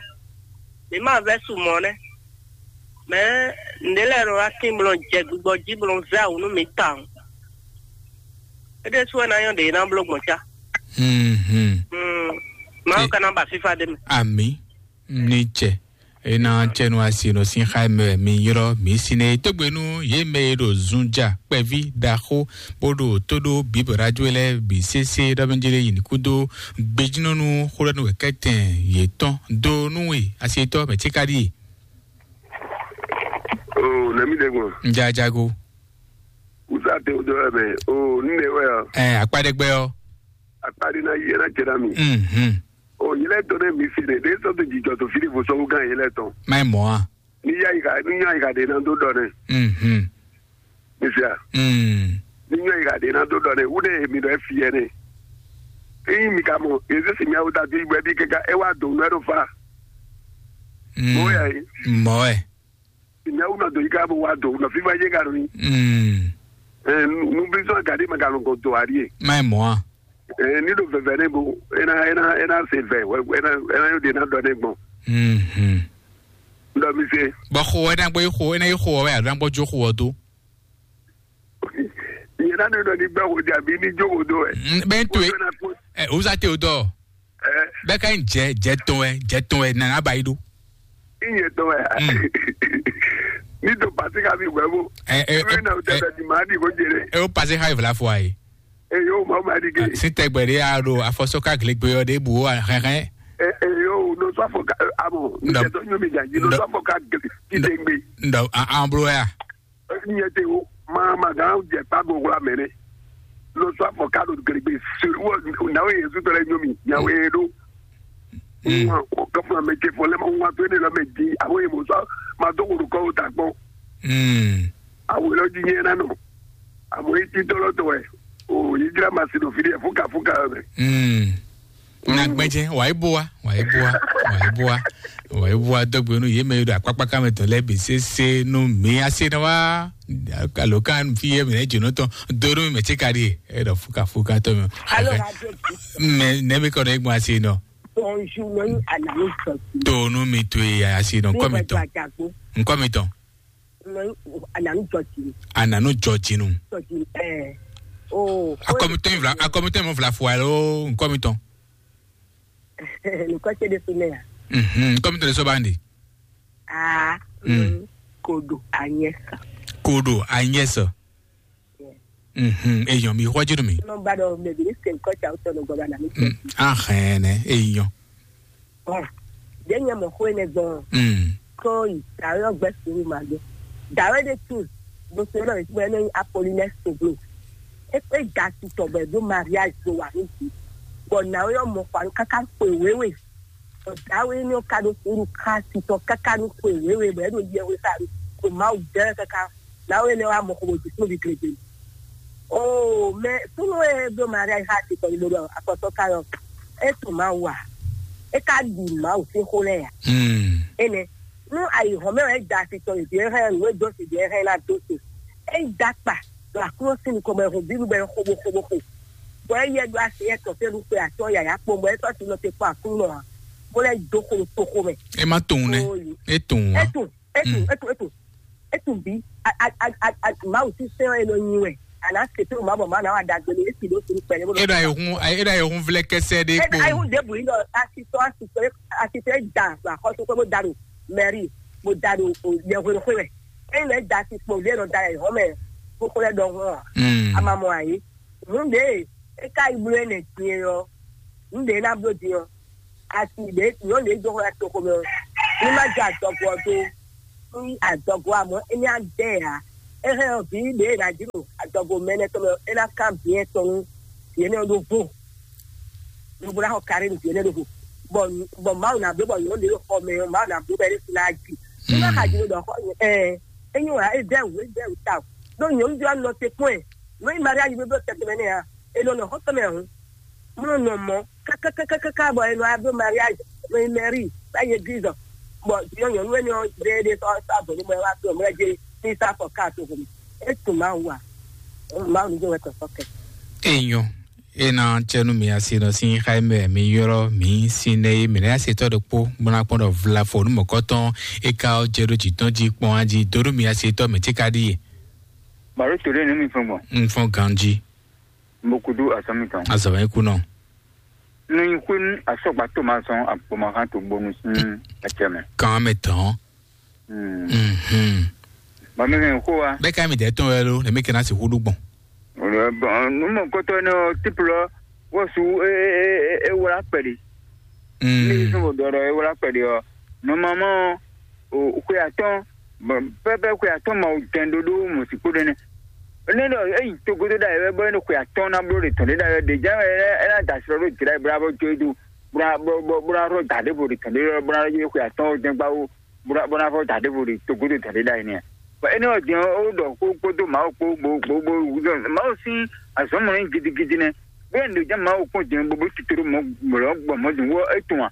mǐ ma vɛ́ su mɔ̌ nɛ́. Mɛ̌ nǔɖé lɛ́ɛ nɔ wá tín blɔ jɛ gbigbɔ jí blɔ vɛ́ awǔ nú mǐ tawun. É ɖésú wɛ ná nyɔ́ ɖě ná bló gbɔn cá. Mhm. Mm. Mawu ka ná ba fífá ɖé mɛ. Ami ní tsɛ ena tsɛnu asi nɔ sin xa mɛ mi yrɔ mi sine tógbenu yé mɛ e ɖo zunja kpɛvi ɖaxó bó ɖo tó ɖó bíbɔ radio lɛ bi sese ɖɔ mi jele yin kudo gbejinɔnu xó ɖɔ nu wɛ kɛtɛn yětɔn do nú we asi tɔ mɛ tsi ka ɖi. O nɛmi ɖe gbɔn. Njajago. Usa te o dɔ wɛ mɛ o nne wɛ ɔ. Ɛ akpa ɖe gbɛ ɔ. Akpa ɖe na yi ɛ na cɛ na mi. Mhm. O yi lɛ tɔn ne mi si ne ɖe sɔ to jijɔ to fili fo sɔwu gan yi lɛ tɔn. Má yi mɔ a. Ni ya yi ka ni nya yi ka ɖe na do dɔ ne. Mhm. Mi sia. Mm. Ni nya yi ka ɖe na do dɔ ne wu ne mi dɔ e fi yɛ ne. Eyi mi ka mɔ ezi si mi awu ta do yi bɔ ebi keka e wa do nu ɛ do fa. Mm. Mo ya yi. Mɔ ɛ. Ìnáwó náà dòyí ká bó wá dò nà fífá yé ká lóyún. Mm. Ẹ nu bí sọ gàdí ma gàlọ́ gàn dò àríyè. Má ì mọ́ a. Ẹ nílò fẹ̀fẹ̀ ní bo ẹ náà ẹ náà ẹ náà ṣe fẹ̀ ẹ náà ẹ náà yóò dé náà dọ̀ ní gbọ̀n. Mhm. Ndọ̀ mi ṣe. Bɔ xo ɛ náà gbɔ yi xo ɛ náà yi xo ɔwɛ alo náà gbɔ jó xo ɔ dó. Ìyẹn náà ní dọ̀ ní gbẹ́ wò dé àbí ní jó wò dó ẹ. Bẹ́ẹ̀ tó e. Ẹ òwúzà tẹ o dọ̀. Bɛɛ ka yin jɛ jɛ tɔn wɛ jɛ tɔn wɛ nana ba yi do. Iye tɔn wɛ. Ni to pasi ka mi wɛ bo. Ɛ ɛ ɛ na o tɛ di ma di ko jere. Ɛ o pasi ka yi fila fɔ ayi. Ɛ yo ma ma di ke. Si tɛgbɛ de a do afɔsɔ ka glegbe yɔ de bu o hɛhɛ. Ɛ ɛ yo no sɔ afɔ ka amo. N tɛ tɔ nyomi jan yi no sɔ afɔ ka glegbe. Ndɔ an blo ya. Nyɛ te o, ma ma gan jɛ kpa go wla mɛ ne. Lo sɔ afɔ ka do glegbe se wo na o Yesu tɔ lɛ nyomi nya o ye do. Wa o ka funa mɛ ce fɔ lɛ ma wa to ne lɔ mɛ di a o ye mo sɔ ma do ko do kɔ o ta gbɔ. A o lɔ di nyɛ na nɔ. A mo ye ti tɔ lɔ tɔ wɛ. O yi jira ma si do fi de fuka fuka mɛ. Na gbɛjɛ wa yi bo wa wa yi bo wa wa yi bo wa wa yi bo wa dɔgbe nu ye mɛ yi do akpakpa ka mɛ tɔ lɛ bi sese nu mi ase na wa alo kan fi ye mɛ jeno tɔn do nu mɛ tse ka di e dɔ fuka fuka tɔ mi. Alo radio. Mɛ ne mi kɔ ne gbɔn ase nɔ. Bonjour, no yi anani sɔsi. To nu mi to ye ase nɔ nkɔ mi tɔn. Nkɔ mi tɔn. Ananu jɔjinu. Ananu jɔjinu. Jɔjinu ɛɛ. Oh. Akɔmitɔn in vla akɔmitɔn in mɔ vla fua lo nkɔmitɔn. Nukɔ tse de fi ne ya. Mhm nkɔmitɔn de so bandi. Ah. Mm. Kodo anyɛsa. Kodo anyɛsa. Mhm eyɔn mi xɔ jinu mi. Nɔ ba dɔ mɛ bi ni se nkɔ tsa wotɔ nɔ gbɔ ba na mi. Mm ahɛn ne eyɔn. Ɔn, ɖě nyɛ mɔ xó énɛ́ gbɔn ɔ́, kɔn yi dǎwe ɔ́ gbɛ́ suúlu ma dó. Dǎwe ɖé tíin ɖo so élɔ́ mǐtúmɔ énɛ́ nyí Apolinɛ́ɛ Soglo. É kpé da titɔ bɔ è ɖó mariázi dó wa nú jǐ, bɔ nǎwe ɔ́ mɔ xɔ anú káká xwe wěwe. Bɔ dǎwe énɛ́ ɔ́ ka ɖó suúlu xá titɔ káká nú xwe wěwe bɔ é ɖo yɛhwe sa ɖo Mawu dɛ́ káká. Nǎwe énɛ́ wá mɔ xo bɔ jǐ kplɔ́n vǐ gěgé. Oo, mɛ súnnu e ɖó Maria yi xá asi kɔni ɖo ɖɔ afɔtɔ́ ka yɔ, é tunwun Mawu a? É ka ɖi Mawu sín xó lɛ́ɛ a? Énɛ́, nú ayǐhɔ́n mɛ wɛ é da asi tɔn yi vǐ e hɛn nǔ e dó si vǐ e hɛn ná dó si. É yi dó akpa ɖo Aklúnɔ sín nukɔn bɔ è hun bǐbí bɔ è xo bó xo bó xo. Bɔ é yɛ ɖó asi yɛ tɔn fɛ́nú xwe atɔ́ yǎyá kpɔ́n bɔ é sɔ́ asi nɔ te kpɔ́n Aklúnɔ ǎ, bó lɛ́ dó xo ɖo toxo mɛ. É má tunwun nɛ́. Ó yi. É tunwun É ǎ. Tunwun, é tunwun, é tunwun, é tunwun. É tunwun bí. A, a, a, a, a, Mawu sín sɛ́n ɔ́ e nɔ nyi wɛ. A nǎ se tónú Mawu bɔ Mawu ná wa ɖagbe nú é. Ési ɖó sunu kpɛɖé bó nɔ. É ɖo ayihun é ɖo ayihun vlɛ kɛsɛ ɖé É kpo. Ayihun ɖěbǔ yi ɖɔ asitɔ asitɔ asitɔ é da ɖo axɔ́súxwé bó da ɖo mɛri bó da ɖo yɛhweɖoxwé mɛ. Ényí lɛ́ da asi kpo ɖé nɔ da ayihɔn mɛ kókó lɛ́ ɖɔhun ɔ́. Mm. A ma mɔ ayǐ. Nǔ ɖě é ka yi bló énɛ́ din é ɔ́, nǔ ɖě é ná bló din ɔ́, asi ɖě nyɔ̌nu ɖě dó xɔ toxo mɛ ɔ́, ní má jɛ adɔgo ɔ́ dó. ní adɔgo amɔ é ní adɛ ǎ. É hɛn ɔ́, vǐ ɖě e ná jló adɔgo mɛ énɛ́ tɔn mɛ ɔ́, é ná kán bǐ ɛtɔn nú vǐ énɛ́ ɔ́ ɖó vo. Lobo ná xɔ kaɖé nú vǐ énɛ́ ɖó vo. Bɔ bɔ Mawu ná bló bɔ nyɔ̌nu ɖě ɖo xɔ mɛ ɔ́, Mawu ná bló bɔ é ɖésú ná jí. Ní má xa jló ɖɔ xɔ ɛ é nyí wǎ é jɛ wǔ é jɛ wǔ ta o. Ɖó nyɔ̌nu jɔ nɔ te kpɔ́n ɛ. Nú é nyí Maria yi bló tɛtɛ mɛ nɛ́ ǎ, é nɔ nɔ xɔ tɔn mɛ hǔn. Mɔ nɔ mɔ kákákákáká bɔ e nɔ adó mariage nɔ yi mairie bá yi église bɔ yɔ nyɔnu énɛ́ ɔ́ ɖe ɖe sɔ sɔ abɔ ní mɔ ɛ wá tó mɔ ɛ jɛ ní sá fɔ ká tó home. E tún Mawu a? Mawu ní jẹ́ wɛ tɔ̀tọ̀ kɛ. Enyo, ena tsɛnu mi asi nɔ sin xaimɛ mi yɔrɔ mi sin ne mi ne asi tɔ ɖe kpo mɔna kpɔn ɖɔ vlafo nu mɔkɔtɔn eka ɔ jɛ ɖo jitɔn ji kpɔn aji donu mi asi tɔ mi ti ka ɖi ye. Baro to ɖe nu mi fɔn gbɔn. N fɔn ganji. Mbokudu asɔmitɔn. Azɔmɛ kunɔ. Nyi xwenu asɔgba Thomas sɔn akpɔmahan to gbonu sin acɛ mɛ. Kan mɛ tɔn. Mhm. Ba mi hɛn xo wa. Bɛ ka mi dɛ tɔn wɛ lo, ne mi kɛ na si hudu gbɔn. Numɔ kɔtɔ ne o tipulɔ wɔsu e e e e wla kpɛɖi. Mm. Ne sɔn dɔrɔ e wla kpɛɖi ɔ. Normalement o xwe atɔn pɛpɛ xwe atɔn ma o jɛn ɖoɖo mɔ si kpo ɖe ne. Ne ɖɔ eyi togodo ɖa yɛ bɔ ne xwe atɔn na blo ɖe tɔn ɖe ɖa yɛ ɖe jɛ ɛ na da srɔ ɖo jira bla bɔ jo do bla bɔ bɔ bla rɔ da ɖe vo ɖe tɔn ɖe bla yɛ xwe atɔn o jɛn gba wo bla bɔ na fɔ da ɖe vo ɖe togodo tɔn ɖe ɖa yɛ nɛ. Bɔ ene ɔ jɛn o ɖɔ kó kpódó Mawu kpó bo bo bo Mawu sín azɔ̌mɔ nyí gidigidi nɛ. Bóyá nìɖe jẹ́ Mawu kpɔn jɛn bo bo titolo mɔ mɔlɔ gbɔ mɔ dùn wɔ etɔn a.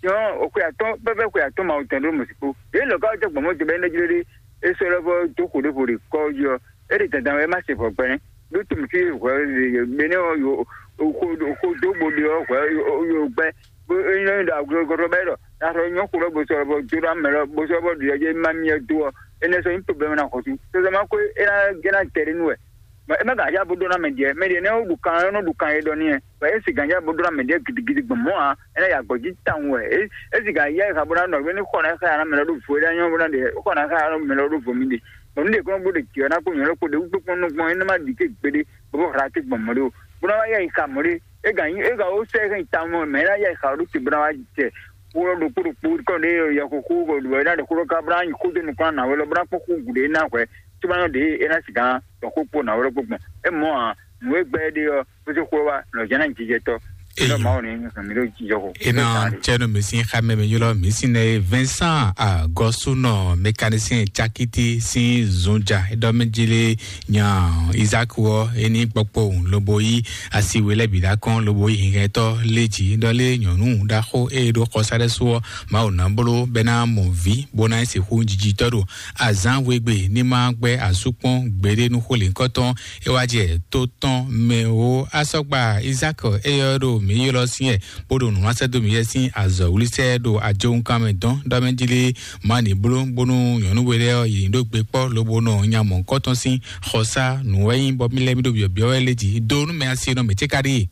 Jɛn o xwe atɔn pɛpɛ xwe atɔn Mawu tɔn ɖo mɔ si kpo. Yě lɔ ká jɛ gbɔmɔ jɛ bɛ ne jlé ɖe e sɔ lɔ vɔ dó xo ɖé vo ɖe kɔ jí ɔ. E ɖe dandan wɛ ma se vɔ gbɛnɛ. Ɖó tumi fi hwɛ bene ɔ yo xo xo dó bo ɖe ɔ hwɛ yo gbɛ. Bó e nyɔ ɖo aglo gɔtɔ bɛ ɖɔ. Ɖa sɔ nyɔ xo lɔ bo sɔ lɔ vɔ dó ɖa mɛ lɔ bo sɔ lɔ vɔ ɖiɖɔ jɛ ma miɛ dó ɔ. Enɛ sɔ nyí problème na xɔsu. Sɔsɔ ma ko e na gɛna tɛ ɖe nu wɛ. Bɔ e ma gan ya bo ɖó ná mɛ ɖiɛ mɛ ɖiɛ nɛ wo ɖu kan ɛ nɔ ɖu kan e ɖɔ n'i ɛ bɔ e si gan ya bo ɖó ná mɛ ɖiɛ gidigidi gbɔn mɔ a e na ya gbɔ ji tan wɛ e e si gan ya e ha bo ná nɔ ne xɔ na xa na mɛ lɔ ɖo vo e ɖa nyɔ bo ná ɖe xɔ na xa na mɛ lɔ ɖo vo mi ɖe. Bɔ nu ɖe kɔn bo ɖe tiɛ na ko nyɔ lɔ ko ɖe wúkpé kpɔn nɔ gbɔn e na ma ɖi ke gbeɖe bɔ bo hra te gbɔn mɔ ɖe o bo na wa ya yi xa mɔ ɖe e gan e gan wo sɛ e gan yi tan mɔ mɛ e na ya yi xa ɖo te bo na wa jɛ wo lɔ ɖokpo ɖokpo kɔn ɖe yɛ xo xo bɔ ɖo e na ɖe xo ɖo ka bo na yi xo do nukun na wɛ lɔ bo na kpɔ xo gu ɖe e na hwɛ. Tsubanɔ ɖe e na sigan dɔn xó kpo nǎ wlɔ́ gbɔn. É mɔ̌ ǎ, nǔ e gbɛ́ é ɖe ɔ́, xwésí xó wá, lɔ̌ jɛ́n ná jijɛ tɔ́. Eyi. Lɔ Mawu ní nyi mí ɖó jijɔ xo. Ena tsɛnu mi sin xamɛ mi ylɔ mi sin ne Vincent Agɔsunɔ mécanicien cakiti sin zunja edɔ mi jili nya Isaac wɔ eni kpɔkpɔ lobo yi asi wele bi da kɔn lobo yi hihɛtɔ leji dɔ le nyɔnu ɖaxo e ɖo xɔsa ɖe su ɔ Mawu ná bló bɛ ná mɔ vi bó ná sixú jijitɔ ɖo azǎn wegbe ní ma gbɛ́ asú kpɔ́n gbeɖé nú xó lěhunkɔtɔn é wá jɛ tó tɔn mɛ ó. Asɔgba Izákɔ éyɔ́ ɖo mǐ ylɔ́ syɛ́n bó ɖo nǔ wá sɛ́ dó mǐ yɛ sín azɔ̌ wlísɛ́ ɖo ajowunkan mɛ dɔn ɖɔ mɛ jí lé má ní bló bónú nyɔ̌nu we lɛ́ɛ ɔ́ yě ní ɖó gbe kpɔ́ lobo nɔ nya mɔ̌hunkɔtɔn sín xɔsá nǔ wɛ nyí bɔ mí lɛ́ mí ɖo byɔ̌byɔ́ wɛ lé jí dó nú mɛ asi nɔ mǐ cé ka ɖíe.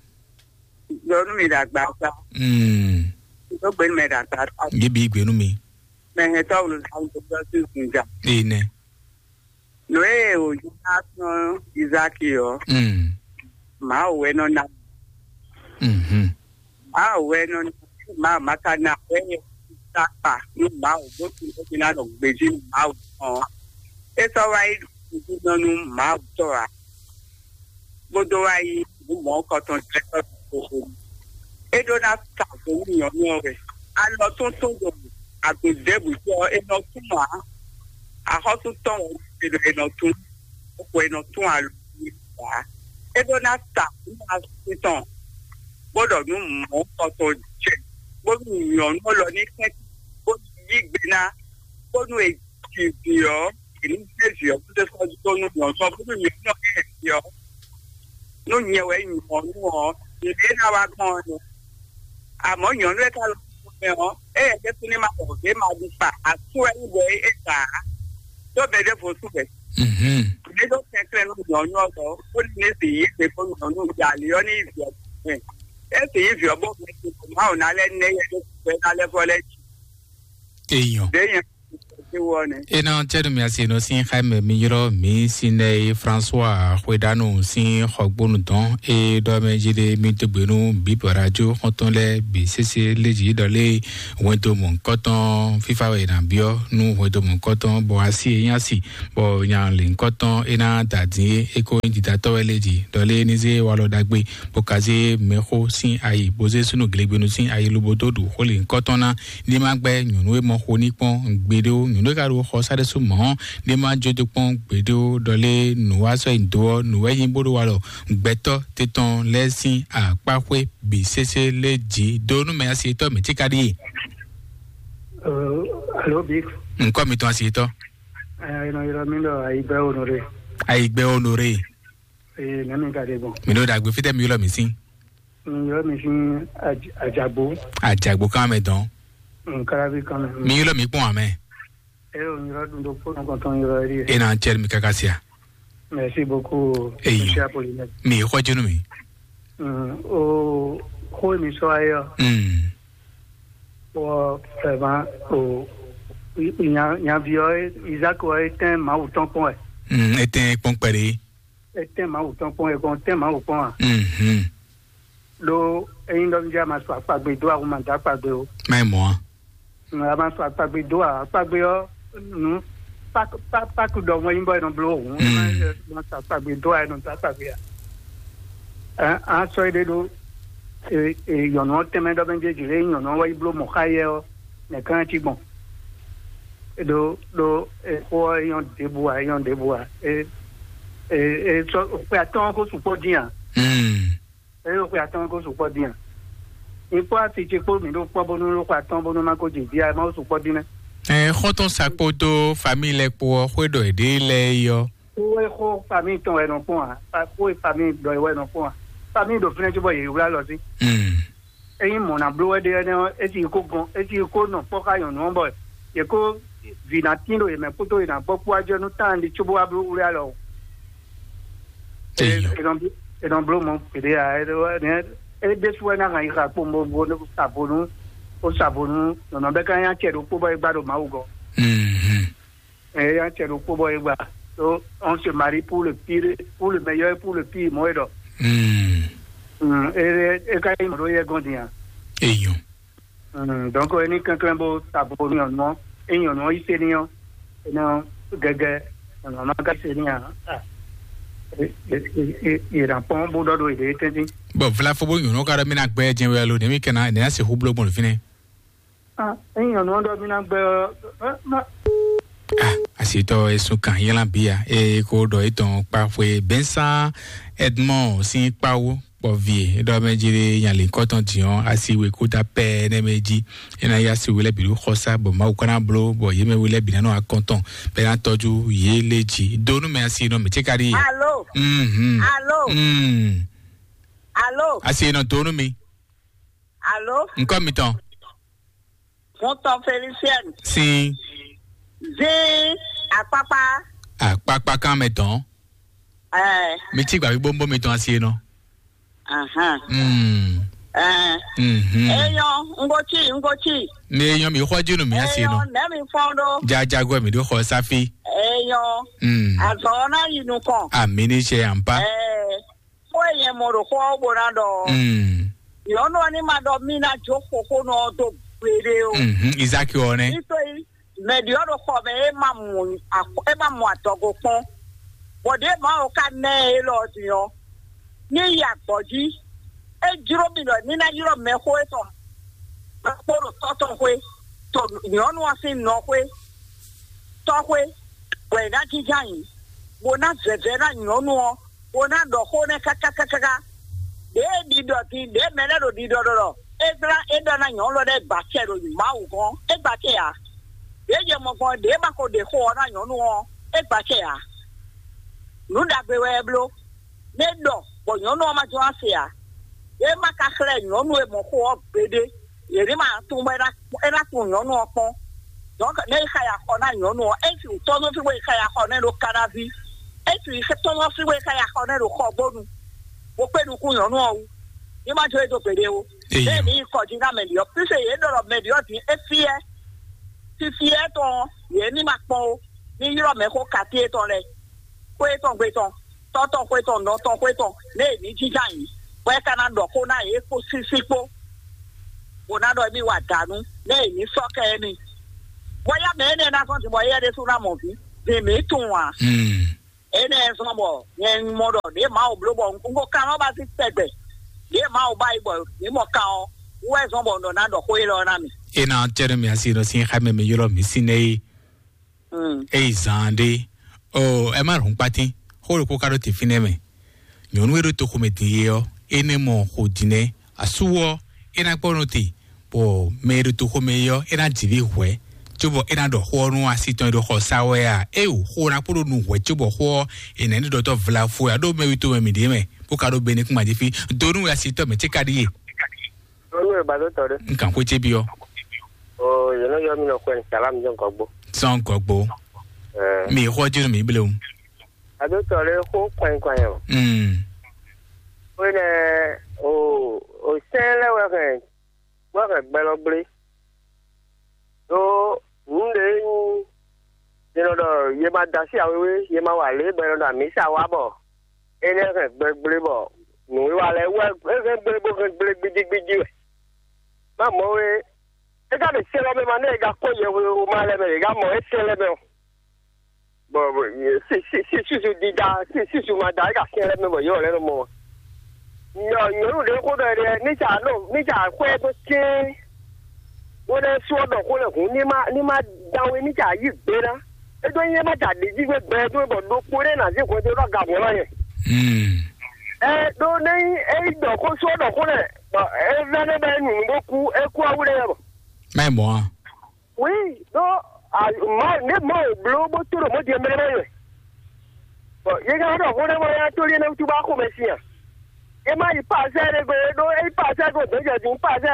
Dó nú mi ɖo agba sa. Mm. Dó gbe nú mɛ ɖo agba sa. Yé bí gbe nú mi. Mɛ hɛn tɔ́ wulu sa ń gbé sí Zunja. Ene. Nǔ e wòyí ná sɔ́n Izáki ɔ́, Mm. Mawu wɛ nɔ ná. Mhm. Mawu wɛ nɔ ná. Mawu ma ka ná wɛ yɛ sákpa nú Mawu bó tún bó tún ná nɔ gbèjì nú Mawu tɔn. É sɔ́ wá yí nǔ nú Mawu tɔn ǎ. Bó dó wá yí nǔ mɔ̌hunkɔtɔn jɛ tɔ́ ɖokpó xo. É ɖó ná sa vo nú nyɔ̌nu ɔ́ wɛ. Alɔ tóntɔn ɖo agun ɖěbǔ jí ɔ́, è nɔ tún ǎ. Axɔ́sú tɔn wɛ è nɔ è nɔ tún. Xo è nɔ tún alɔ ǎ. É ɖó ná sa nú asú tɔn, bó ɖɔ nǔ mɔ̌hunkɔtɔn jɛ, bónú nyɔ̌nu ɔ́ lɔ ní kɛ́n, bónú yí gbe ná, bónú è ji vǐ ɔ́, è ní zé vǐ ɔ́ kúdé sɔ́ dó nú nyɔ̌nu ɔ́, bónú nyɔ̌nu ɔ́ kɛ́n vǐ ɔ́, nú nyɛ wɛ nyɔ̌nu ɔ́, nǔɖé ná wá gbɔn ɔ́ nɛ́. Amɔ̌ nyɔ̌nu e ka lɔ mɛ ɔ́, éyɛ́ ɖésú ní ma xɔ vǐ e ma ɖu kpa asú wɛ nyí bɔ é gbǎ ǎ. Ɖó mɛ ɖěvo sú wɛ. Mhm. Mɛ ɖó kɛnklɛ́n nú nyɔ̌nu ɔ́ gbɔ, bó ní ní sì yí gbe bó nyɔ̌nu ja ali ɔ́ ní yí vǐ ɔ́ gbɔn. É sì yí vǐ ɔ́ bó mɛ gbe bɔ Mawu ná lɛ́ ná yɛ ɖó gbɛ ná lɛ́ vɔ lɛ́ jí. Èèyàn. Ɖě nyɛ Ewɔ nɛ. Ena cɛɖu mi asi nɔ sín xaimɛ mi ylɔ mi sinɛ François Xwedanu sín xɔgbónu dɔn e ɖɔ mɛ jí ɖe mi dogbe nú bíbɔ radio xɔntɔn lɛ bi sese léjì ɖɔ lé hwɛndo mɔ̌hunkɔtɔn fífá wɛ è nǎ byɔ́ nú hwɛndo mɔ̌hunkɔtɔn bɔ asi e nyí asi bɔ nya lǐnkɔtɔn e ná da dín é e ko nyí didatɔ́ wɛ léjì ɖɔ lé ní zé walɔ ɖagbe bó ka zé mɛxó sín ayi bó zé súnnu glegbenu sín ayi lobo dó ɖu xó lǐnkɔtɔn ná ní ma gbɛ́ nyɔ̌nu e mɔ xo ní kpɔ́n gbeɖé ó, nyɔ̌nu e ka ɖo xɔ sá ɖésú mɔ̌ ní ma jó do kpɔ́n gbeɖé ó, ɖɔ lé nǔ wá sɔ́ nyi dó ɔ́, nǔ wɛ nyí bó ɖo walɔ gbɛtɔ́ te tɔn lɛ́ɛ sín akpáxwé bǐ sésé lé jǐ dó nú mɛ asi yětɔn mǐ tíká ɖíe. Alo, Big. Nǔkɔ mitɔn asi yětɔn. Ẹ, ẹ nɔ ylɔ́ mì ɖɔ Ayigbe Honoré. Ayigbe Honoré. Ee, nɛ̌ mi ka ɖe gbɔn? Mi ɖo ɖagbe fítɛ́ mi ylɔ́ mi sín. Mi ylɔ́ mi sín Aj-, Ajagbo. Ajagbo kan mɛ dɔn. Mm, Kalavi kan mɛ. Mi ylɔ́ mi kpɔn amɛ. Ẹ o, mi ylɔ́ dun ɖokpó nukɔntɔn ylɔ́ ɛ ɖíe. E na cɛ mi kaka sia. Merci beaucoup, Eyi. Monsieur Apollinaire. Mi xɔ jenu mi. Mm, o, xó mi sɔ ayɔ. Mm. Wɔ, vraiment, o, nya, nyavi ɔ, Isaac ɔ, etɛn Mawu tɔn kpɔn wɛ. Mm, etɛn kpɔn kpɛɖe. Etɛn Mawu tɔn kpɔn, e kɔn tɛn Mawu kpɔn a? Mhm. Ɖó ényí ɖɔ nú a ma sɔ akpagbe dó a, ma dó akpagbe o. Mɛ mɔ a? Mm, a ma sɔ akpagbe dó a, akpagbe ɔ́, nu pak pak pak ɖɔ wɛn nyí bɔ e nɔ bló o. Mm. A ma sɔ akpagbe dó a, e nɔ dó akpagbe a. Ɛ, a sɔ ede ɖó e, e, nyɔ̌nu ɔ́ tɛnmɛ ɖɔ mɛ jɛ jǐ lé nyɔ̌nu ɔ́ wɛ yi bló mɔ̌ xá yɛ ɔ́, nɛ̌ ká cí gbɔn? Ɖó ɖó e, xó ɔ́ e nyɔ́ ɖěbǔ ǎ, e nyɔ́ ɖěbǔ ǎ. E, e, e sɔ xwe atɔ́ɔ́n ko sukpɔ́ dín ǎ. Mm. E xwe atɔ́ɔ́n ko sukpɔ́ dín ǎ. Mi kpɔ́ asi ce kpó mǐ ɖo kpɔ́ bónú ɖo xwe atɔ́ɔ́n bónú má ko jɛ vǐ ǎ, má ko sukpɔ́ dín nɛ́. Ɛ, xɔ́ntɔn sa kpódó famíli lɛ́ɛ kpó ɔ́, xwé ɖɔ yěɖée lɛ́ɛ é ɔ́. Xó e xó famíli tɔn wɛ nɔ kpɔ́n ǎ, xó e famíli ɖɔ é wɛ nɔ kpɔ́n ǎ. Famíli ɖo fínɛ́ cóbɔ yě wlá lɔ sí. Mm. Ényí mɔ̌ ná bló wɛ ɖe énɛ́ ɔ́, é sì ko gɔn, é sì ko nɔ kpɔ́ xá nyɔ̌nu ɔ́ bɔ yě ko vǐ ná tín ɖo yě mɛ kpódó yě ná gbɔ kpó wá jɔ nú tán ɖi cóbó wá bló wlí alɔ o. Eyɔ. E nɔ bló mɔ gbeɖé ǎ, é ɖésú wɛ ná hɛn yi xa kpó mo bó sa vo nú, bó sa vo nú nɔnɔ bɛ ká nyí acɛ ɖokpó bɔ é gbá ɖo Mawu gɔ́. Mhm. Ɛ, ya cɛ ɖokpó bɔ é gba. Donc, on se marie pour le pire, pour le meilleur, pour le pire, mɔ̌ é ɖɔ. Mm. Mm, é, é ka nyí mɔ̌ ɖó yɛ gɔ́n din a? Eyɔn. Mm, donc, é ní kɛnklɛ́n bó ta bo nyɔ̌nu ɔ́, é nyɔ̌nu ɔ́ yí se n'i ɔ́, é nɔ gɛgɛ, nyɔ̌nu ɔ́ ma ka se n'i a? Ah. É, é, é, é, yě ná kpɔ́n bó ɖɔ ɖo yě ɖě tɛ́ntin. Bɔ vlafo bó nyɔ̌nu ka ɖɔ mí ná gbɛ jɛn wɛ alo nɛ̌ mí kɛ ná, nɛ̌ ná se hú bló gbɔn fínɛ́? Ah, ényí nyɔ̌nu ɔ́ ɖɔ mí ná gbɛ ɔ́, ɛ, má. Ah, asitɔ esun kan yɛlán bia e ko ɖɔ etɔn kpa xwe bɛnsan Edmond sin kpawo kpɔ vie ɖɔ mɛ jere nyali kɔtɔn diɔn asi we kuta pɛ ne mɛ ji ena ya si wele bi xɔsa bɔ Mawu kana blo bɔ ye mɛ wele bi nanu akɔntɔn bɛ na tɔju ye le ji do nu mɛ asi nɔ mɛ ce kari ye. Alo. Mhm. Alo. Mm. Alo. Asi nɔ do nu mi. Alo. Nkɔ mi tɔn. Ŋutɔ Felicienne. Sin. Zé akpakpa. Akpakpa kan mɛ tɔn. Ɛɛ. Mi ti gba gbogbo mi tɔn asi nɔ. Ahan. Mm. Ɛɛ. Mhm. Eyɔn, ŋgotsi, ŋgotsi. Mi eyɔn mi xɔ jinu mi asi nɔ. Eyɔn, nɛ mi fɔn ɖo. Jajago mi ɖo xɔ safi. Eyɔn. Mm. Azɔ na yi nukɔn. Ami ni se ampa. Ɛɛ. Xó e nyɛ mɔ ɖo xó ɔ́ bó ná ɖɔ ɔ́, mm, nyɔ̌nu ɔ́ ní ma ɖɔ mí ná jó xoxónɔ ɔ́ dó gbeɖé ó. Mhm, Izáki ɔ́ nɛ́. Nítorí mɛ̌ ɖi ɔ́ ɖo xɔ mɛ é ma mɔ akɔ-, é ma mɔ adɔgo kpɔ́n. Bɔ ɖěe Mawu ka ná ɛ élɔ́ ɔ́ din ɔ́, ní yi agbɔ̌ jí. É jló mì ɖɔ ní ná ylɔ́ mɛxó étɔn kpó ɖo tɔ́ tɔn xwé, to nyɔ̌nu ɔ́ sín nɔ xwé, tɔ́ xwé, bɔ è nǎ jínjɔ́n ayǐ, bó ná vɛvɛ ná nyɔ̌nu ɔ́, bó ná ɖɔ xó nɛ́ káká káká. Ɖěe ɖiɖɔ din, ɖěe mɛ lɛ́ɛ ɖo ɖiɖɔ ɖɔ ɖɔ é ɖlá é ɖɔ ná nyɔ̌nu lɔ ɖɛ́ gba acɛ ɖo Mawu gɔ́n, é gba acɛ ǎ. Ɖěe jɛ mɔ gbɔn ɖěe ma ko ɖe xó ɔ́ ná nyɔ̌nu ɔ́, é gba acɛ ǎ. Nǔ ɖagbe wɛ é bló. Nɛ ɖɔ bɔ nyɔ̌nu ɔ́ ma jɔ wá se ǎ. É ma ka xlɛ́ nyɔ̌nu e mɔ xó ɔ́ gbeɖé. Yě ní ma tunwun bɔ é ná, é ná tunwun nyɔ̌nu ɔ́ kpɔ́n. Donc, nɛ é xa yi axɔ ná nyɔ̌nu ɔ́, é sì tɔ́ nɔ fí bɔ é xa yi axɔ nɛ ɖo Kanaví. É sì tɔ́ nɔ fí bɔ é xa yi axɔ nɛ ɖo Xɔgbónu. Bó kpé nukún nyɔ̌nu ɔ́ wú. Ní ma jó é dó gbeɖé ó. Eyɔ. Nɛ ní yi kɔ jí ná mɛ ɖiɔ. Píse yě ɖɔ ɖɔ mɛ ɖiɔ dín é fíɛ́. Fifi etɔn, yě ní ma kpɔn ó. Ní ylɔ́ mɛ xó kati etɔn lɛ, xwé etɔn gbe tɔn, tɔ́ tɔn xwé tɔn, nɔ tɔn xwé tɔn, nɛ è ní jínjɔ́n ayǐ, bɔ é ka ná ɖɔ xó ná yě kpó sísí kpó, bó ná ɖɔ émí wa dǎnú, nɛ è ní sɔ́ kɛ émí. Bɔ yá mɛ énɛ́ ná zɔ́n din bɔ éyɛ́ ɖésú ná mɔ vǐ, vǐ mǐ tunwun ǎ. Énɛ́ zɔ́n bɔ nyɛ un mɔ ɖɔ ɖě Mawu bló bɔ un ko kan ɔ́ ba sín tɛgbɛ, ɖě Mawu ba yi bɔ mǐ mɔ kan ɔ́ wú wɛ zɔ́n bɔ un ɖɔ ná ɖɔ xó élɔ́ ná mì. E na cɛ ɖe mi asi nɔ sin xa mɛ mi ylɔ mi sin nɛ yi. Mm. Eyi zan ɖe. O, ɛ má rún kpatín. Xó ɖokpó ka ɖo te fínɛ́ mɛ. Nyɔ̌nu e ɖo toxo mɛ din é ɔ́, é nɛ́ mɔ xo din nɛ́. Asú ɔ́, é ná kpɔ́ nɔ te, bɔ mɛ e ɖo toxo mɛ é ɔ́, é ná ji vǐ hwɛ̌, cóbɔ é ná ɖɔ xó ɔ́ nú asi tɔn e ɖo xɔ sa wɛ a? Éyo, xó ná kpó ɖo nu hwɛ̌ cóbɔ xó ɔ́, è nǎ ní ɖɔtɔ́ vlafo ya ɖó mɛ wi tomɛ mǐ ɖíe mɛ, bó ka ɖó be ní kún ma jí fí. Do nú asi tɔn mɛ cé ka ɖíe. Nú e ba dó tɔ ɖé. Un kàn xwé cé byɔ́. O, yě nɔ yɔ mì nɔ xwɛ ní sàlám jɔ gɔgbo. Sɔn gɔgbo. Ɛ. Mi xɔ jinu mi blewu. Adótɔ ɖé xó kɔnyi kɔnyi o. Mm. Xó nɛ o, o sɛn lɛ wɛ hɛn, wɛ hɛn gbɛlɔ gblé. Ɖó nǔ ɖé nyí, yě nɔ ɖɔ yě ma da sí awéwé, yě ma wa lě bɔ yě nɔ ɖɔ amǐsa wá bɔ énɛ́ hɛn gbɛ gblé bɔ nǔwiwa lɛ́ɛ wɛ é hɛn gblé bó hɛn gblé gbídígbídí wɛ. Má mɔ̌ wé, é ka ɖe sɛ́lɔ́ mɛ ma nɛ é ka kó yɛhwewo ma lɛ́ mɛ, é ka mɔ é sɛ́ lɛ́ mɛ ɔ́. Bɔ, bɔ, si, si, si, susu dida, si, susu ma da, é ka sɛ́ lɛ́ mɛ bɔ yɔ́ lɛ́ nɔ mɔ. Nyɔ, nyɔ̌nu ɖě xó ɖɔ ɖɛ, ní tsa nɔ, ní tsa xwɛ dó cɛ́ɛn. Bó ɖe sú ɔ́ ɖɔ xó lɛ hǔn, ní ma, ní ma dán wé, ní tsa yí gbé ná. É ɖó nyí é má tsa ɖě jí gbé gbɛ dó bɔ ɖokpó ɖé ná zé hwɛndo ɖɔ aga mɔ̌ ná nyɛ. Mm. Ɛ ɖó nɛ nyí é yi ɖɔ xó sú ɔ́ ɖɔ xó lɛ, bɔ é vɛ́ nɛ bɔ é nu nǔ bó kú, é kú awu ɖé yɛ bɔ. Má yi mɔ̌ a? Oui, ɖó a ma ne ma o bló bó tó ɖo mɔ̌ din mɛ lɛ́ɛ mɛ. Bɔ yě ká ɖɔ xó ɖé bɔ yá tó lé ne wútu bá xo mɛ sin a? É má yi pasɛ ɖé gbe ɖó é yi pasɛ go dó jɛ din pasɛ,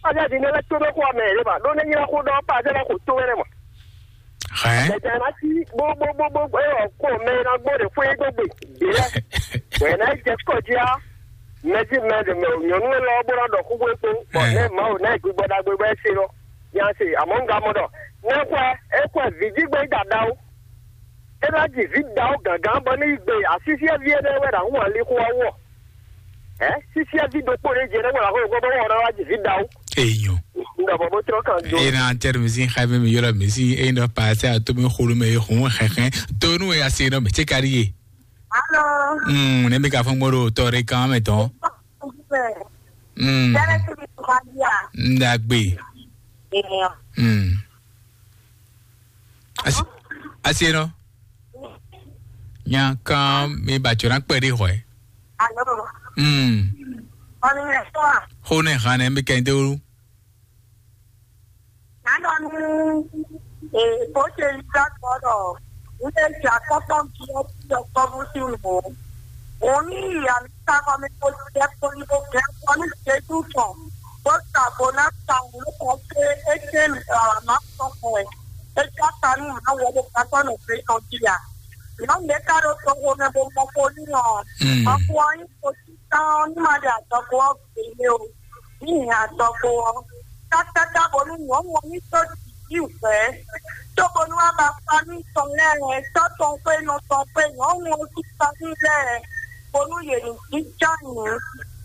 pasɛ din ne lɛ tó ɖó xó mɛ ɖé ma ɖó ne nylá xó ɖɔ pasɛ lɛ xo tó wɛ ma. Hɛn. Mɛ tɛ na ti bó bó bó bó bó ɔ kó mɛ na gbó ɖe xwé dó gbe ɖé lɛ. Bɔ yě ná yi jɛ kɔjí á. Mɛ jí mɛ ɖe mɛ nyɔ̌nu élɔ́ bó ná ɖɔ xó bó é kpó. Bɔ Ɛ. Ne Mawu ná yi gbígbɔ ɖagbe bɔ é se lɔ. Nya se, àmọ́ un ga mɔ ɖɔ ne xwɛ é xwɛ vǐ jí gbé yi ɖaɖa ó. É ná ji vǐ ɖaxó gǎngán bɔ ní yi gbe asísíɛ́ví énɛ́ wɛ ɖo ahún ali xó ɔ́ wú ɔ́. Ɛ sísíɛ́ví ɖokpó ɖé jɛ ɖé wɛ ɖo ahún bɔ wɔ ɖɔ wá ji vǐ ɖaxó. Èèyàn. Un ɖɔ bɔ bó trɔ kan do. Ena tɛri mi sin xa mi mi yɔrɔ mi sin eyi nɔ paase ato mi xolu mi hun xɛxɛ to nu ya se nɔ mi tse kari ye. Alo. Mm, ne mi ka fɔ gbɔdɔ tɔ ɖe kan mɛ tɔn. Mm. Jẹ́rẹ́ sí mi tó máa di à. Ndagbe. Ènìyàn. Mm. Asi, asi nɔ. Nya kan mi ba tsɔ na kpɛ ɖe xɔ ɛ. Alo. Mm. Ọ̀nì yẹn sọ à. Xo ne xan ne mi kɛ de wu. Nánɔ ní èkó ṣe iṣẹ́ gbọ́dọ̀ nílé ìjà kọ́kọ́ bí ó ti ọkọ mú sí mọ́. Òun ní ìyá mi sábà mi kó jẹ́ kó ní kó kẹ́ kọ́ ní ìṣẹ́jú kan. Bó ṣàbò náà ta òun ló kọ́ pé é ṣe àràmá sọkùn ẹ̀. É ṣe àtàní ìnáwó ọmọ kan tọ́nà pé kan jìyà. Ìnáwó mi ká ló sọ owó mẹ́ bó mọ kó nínú. Mm. Ọkùnrin kò sí tán ní màdé àtọkùn ọ̀gbìn o. Ní ìhà àtọkùn ọ. Tátátábò ní wọ́n wọ́n ní tó dìbí ìfẹ́. Tóbonú wa bá pa ní sọ lẹ́rìn tọ́tọ̀ pé nọ sọ pé wọ́n wọ́n ti pa ní lẹ́rìn. Bonú yèmí jíjá yìí.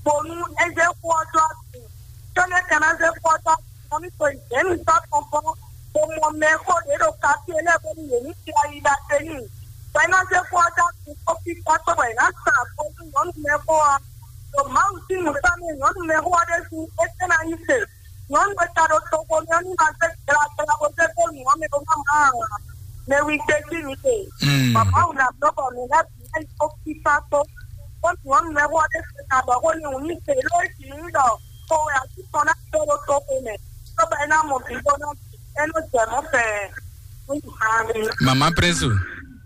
Bonú ẹgbẹ́ kú ọjọ́ àti. Tọ́lẹ̀ kan náà ṣe kú ọjọ́ àti. Wọ́n ní sọ ìjẹ́ mi tọ́tọ̀ bọ́. Mo mọ mẹ́kọ́ lérò ká sí ẹlẹ́gbẹ́ mi yèmí ti ayé dá sẹ́yìn. Wẹ́n náà ṣe kú ọjọ́ àti. Ó fi pátó wẹ̀ náà sàn àpò ní wọ́n mẹ́kọ́ wa. Ɖo Mawu sín nǔkpámɛ nyɔ̌nu mɛ xó ɔ́ ɖésú, é tɛ́ ná nyí se. Nyɔ̌nu e ka ɖo toxo mɛ ɔ́ ní ma zé gblagbla bó zé dó nǔ ɔ́ mɛ bó má má ǎ. Mɛ wi gbe jí mi te. Mm. Bɔ Mawu ná bló bɔ mǐ lɛ́ bǐ ná yi kó fífá tó. Bó nyɔ̌nu mɛ xó ɔ́ ɖésú ná ɖɔ xó n'i wǔ ní se ló é sǐ nyí ɖɔ xo wɛ asú tɔn ná dó ɖó toxo mɛ. Cóbɔ é ná mɔ bǐ bó ná bǐ, é nɔ jɛ mɔ̌ fɛɛ. Mama Prince.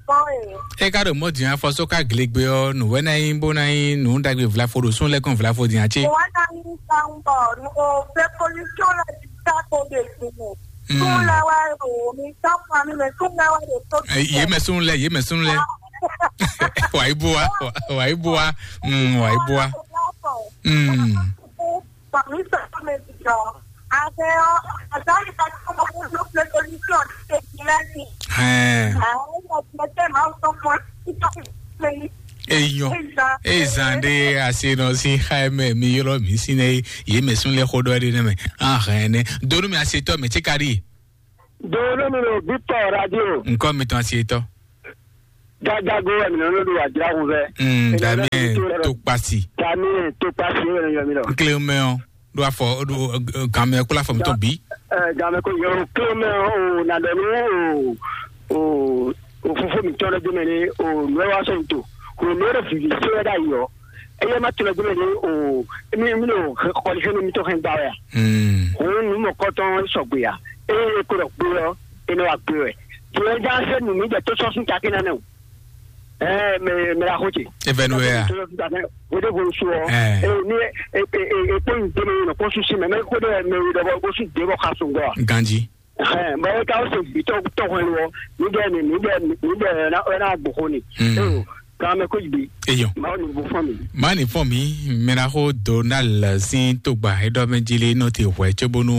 Oi. E ka ɖo mɔ din afɔ so ka glegbe ɔ, nu wɛ na yi bo na yi nu dagbe vlafo ɖo sun lɛ kɔn vlafo din atse. Wa na yi san bɔ o fɛ polisi la ti ta ko de sun. Mm. Sun la wa o mi ta fa mi mɛ sun la wa de so. Ye mɛ sun lɛ, ye mɛ sun lɛ. Wa yi bua, wa yi bua. Mm, wa yi bua. Mm. Fa mi sa me ti jɔ. Hɛn. Eyɔn. Ezan ɖe ase nɔ sín xa mɛ mi ylɔ mi sín nɛ. Yé mɛ sún lɛ xó ɖɔ ɖe nɛ mɛ. Ahɛn nɛ. Donu mi asetɔ mɛ tí ka ɖi. Donu mi ɖo Victor Radio. Nkɔ mi tɔn asetɔ. Jajago wɛ mi nɔ ɖo ajra ŋu vɛ. Mm, Damien Tokpasi. Damien Tokpasi wɛ mi nɔ. Nkle mɛ ɔ. Ɖo afɔ ɖo gamɛ kpla fɔ mi tɔn bi. Ɛ, gamɛ ko yɔ klo mɛ o na dɔ nu o o o fofo mi tɔn ɖe mɛ ni o nu wa sɔ to o nu ɖe vivi se wɛ da yɔ. Eye ma tɔn ɖe mɛ ni o mi mi no kɔli fɛn mi tɔn hɛn gba wɛ. Hmm. O nu mɔ kɔtɔn sɔgbe ya. Eye ko dɔ gbe yɔ e ne wa gbe wɛ. Tiɛ ja se nu mi jɛ to sɔ sun taki na ne o. Ɛɛ, mɛ mɛ la xo ce. Evɛnu wɛ ya. O de bo su ɔ. Ɛɛ. Ee, ni e e e e kpɔn yin tɛmɛ yin nɔ kpɔn susi mɛ mɛ ko de mɛ wi dɔ bɔ ko su de bɔ ka so ngɔ. Ganji. Ɛɛ, mɛ e ka o se bi tɔ tɔ hɔn wɔ. Ni de ni ni de ni de na na gbɔ ko ni. Hmm. Ee, kan mɛ ko bi. Eyɔn. Ma o ni bo fɔ mi. Má ní fɔ mí mɛɖaxó Donald sín tógba éɖɔmɛjílé nɔ te hwɛ cóbónú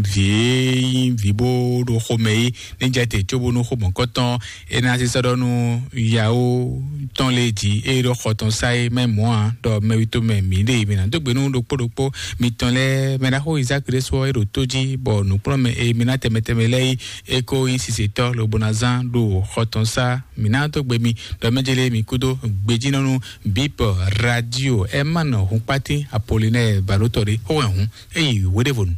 vǐ e nyí vǐ bó ɖo xomɛ é ní jɛ te cóbónú xomɔ̌kɔtɔn é ná sisɔ ɖɔ nú yawo tɔn lé jí é ɖo xɔ tɔn sá é mɛ mɔ̌ ǎ ɖɔ mɛwítɔ́ mɛ mǐ ɖe mǐ ná dó gbe nú ɖokpó ɖokpó mitɔn lɛ́ɛ mɛɖaxó Isaac ɖé sɔ́ é ɖo tó jí bɔ nǔkplɔ́nmɛ e mi ná tɛnmɛ tɛnmɛ lɛ́ɛ é é kó nyí sisetɔ́ lobo ná zán ɖo xɔ tɔn sá mǐ ná dó gbe mi ɖɔ mɛ jɛ lé mi kúdó gbejínɔ́nú bíp radio Herman Hunkpatín Apollinaire Balótɔ ɖé xó hɛn hǔn é yi wéɖévonu.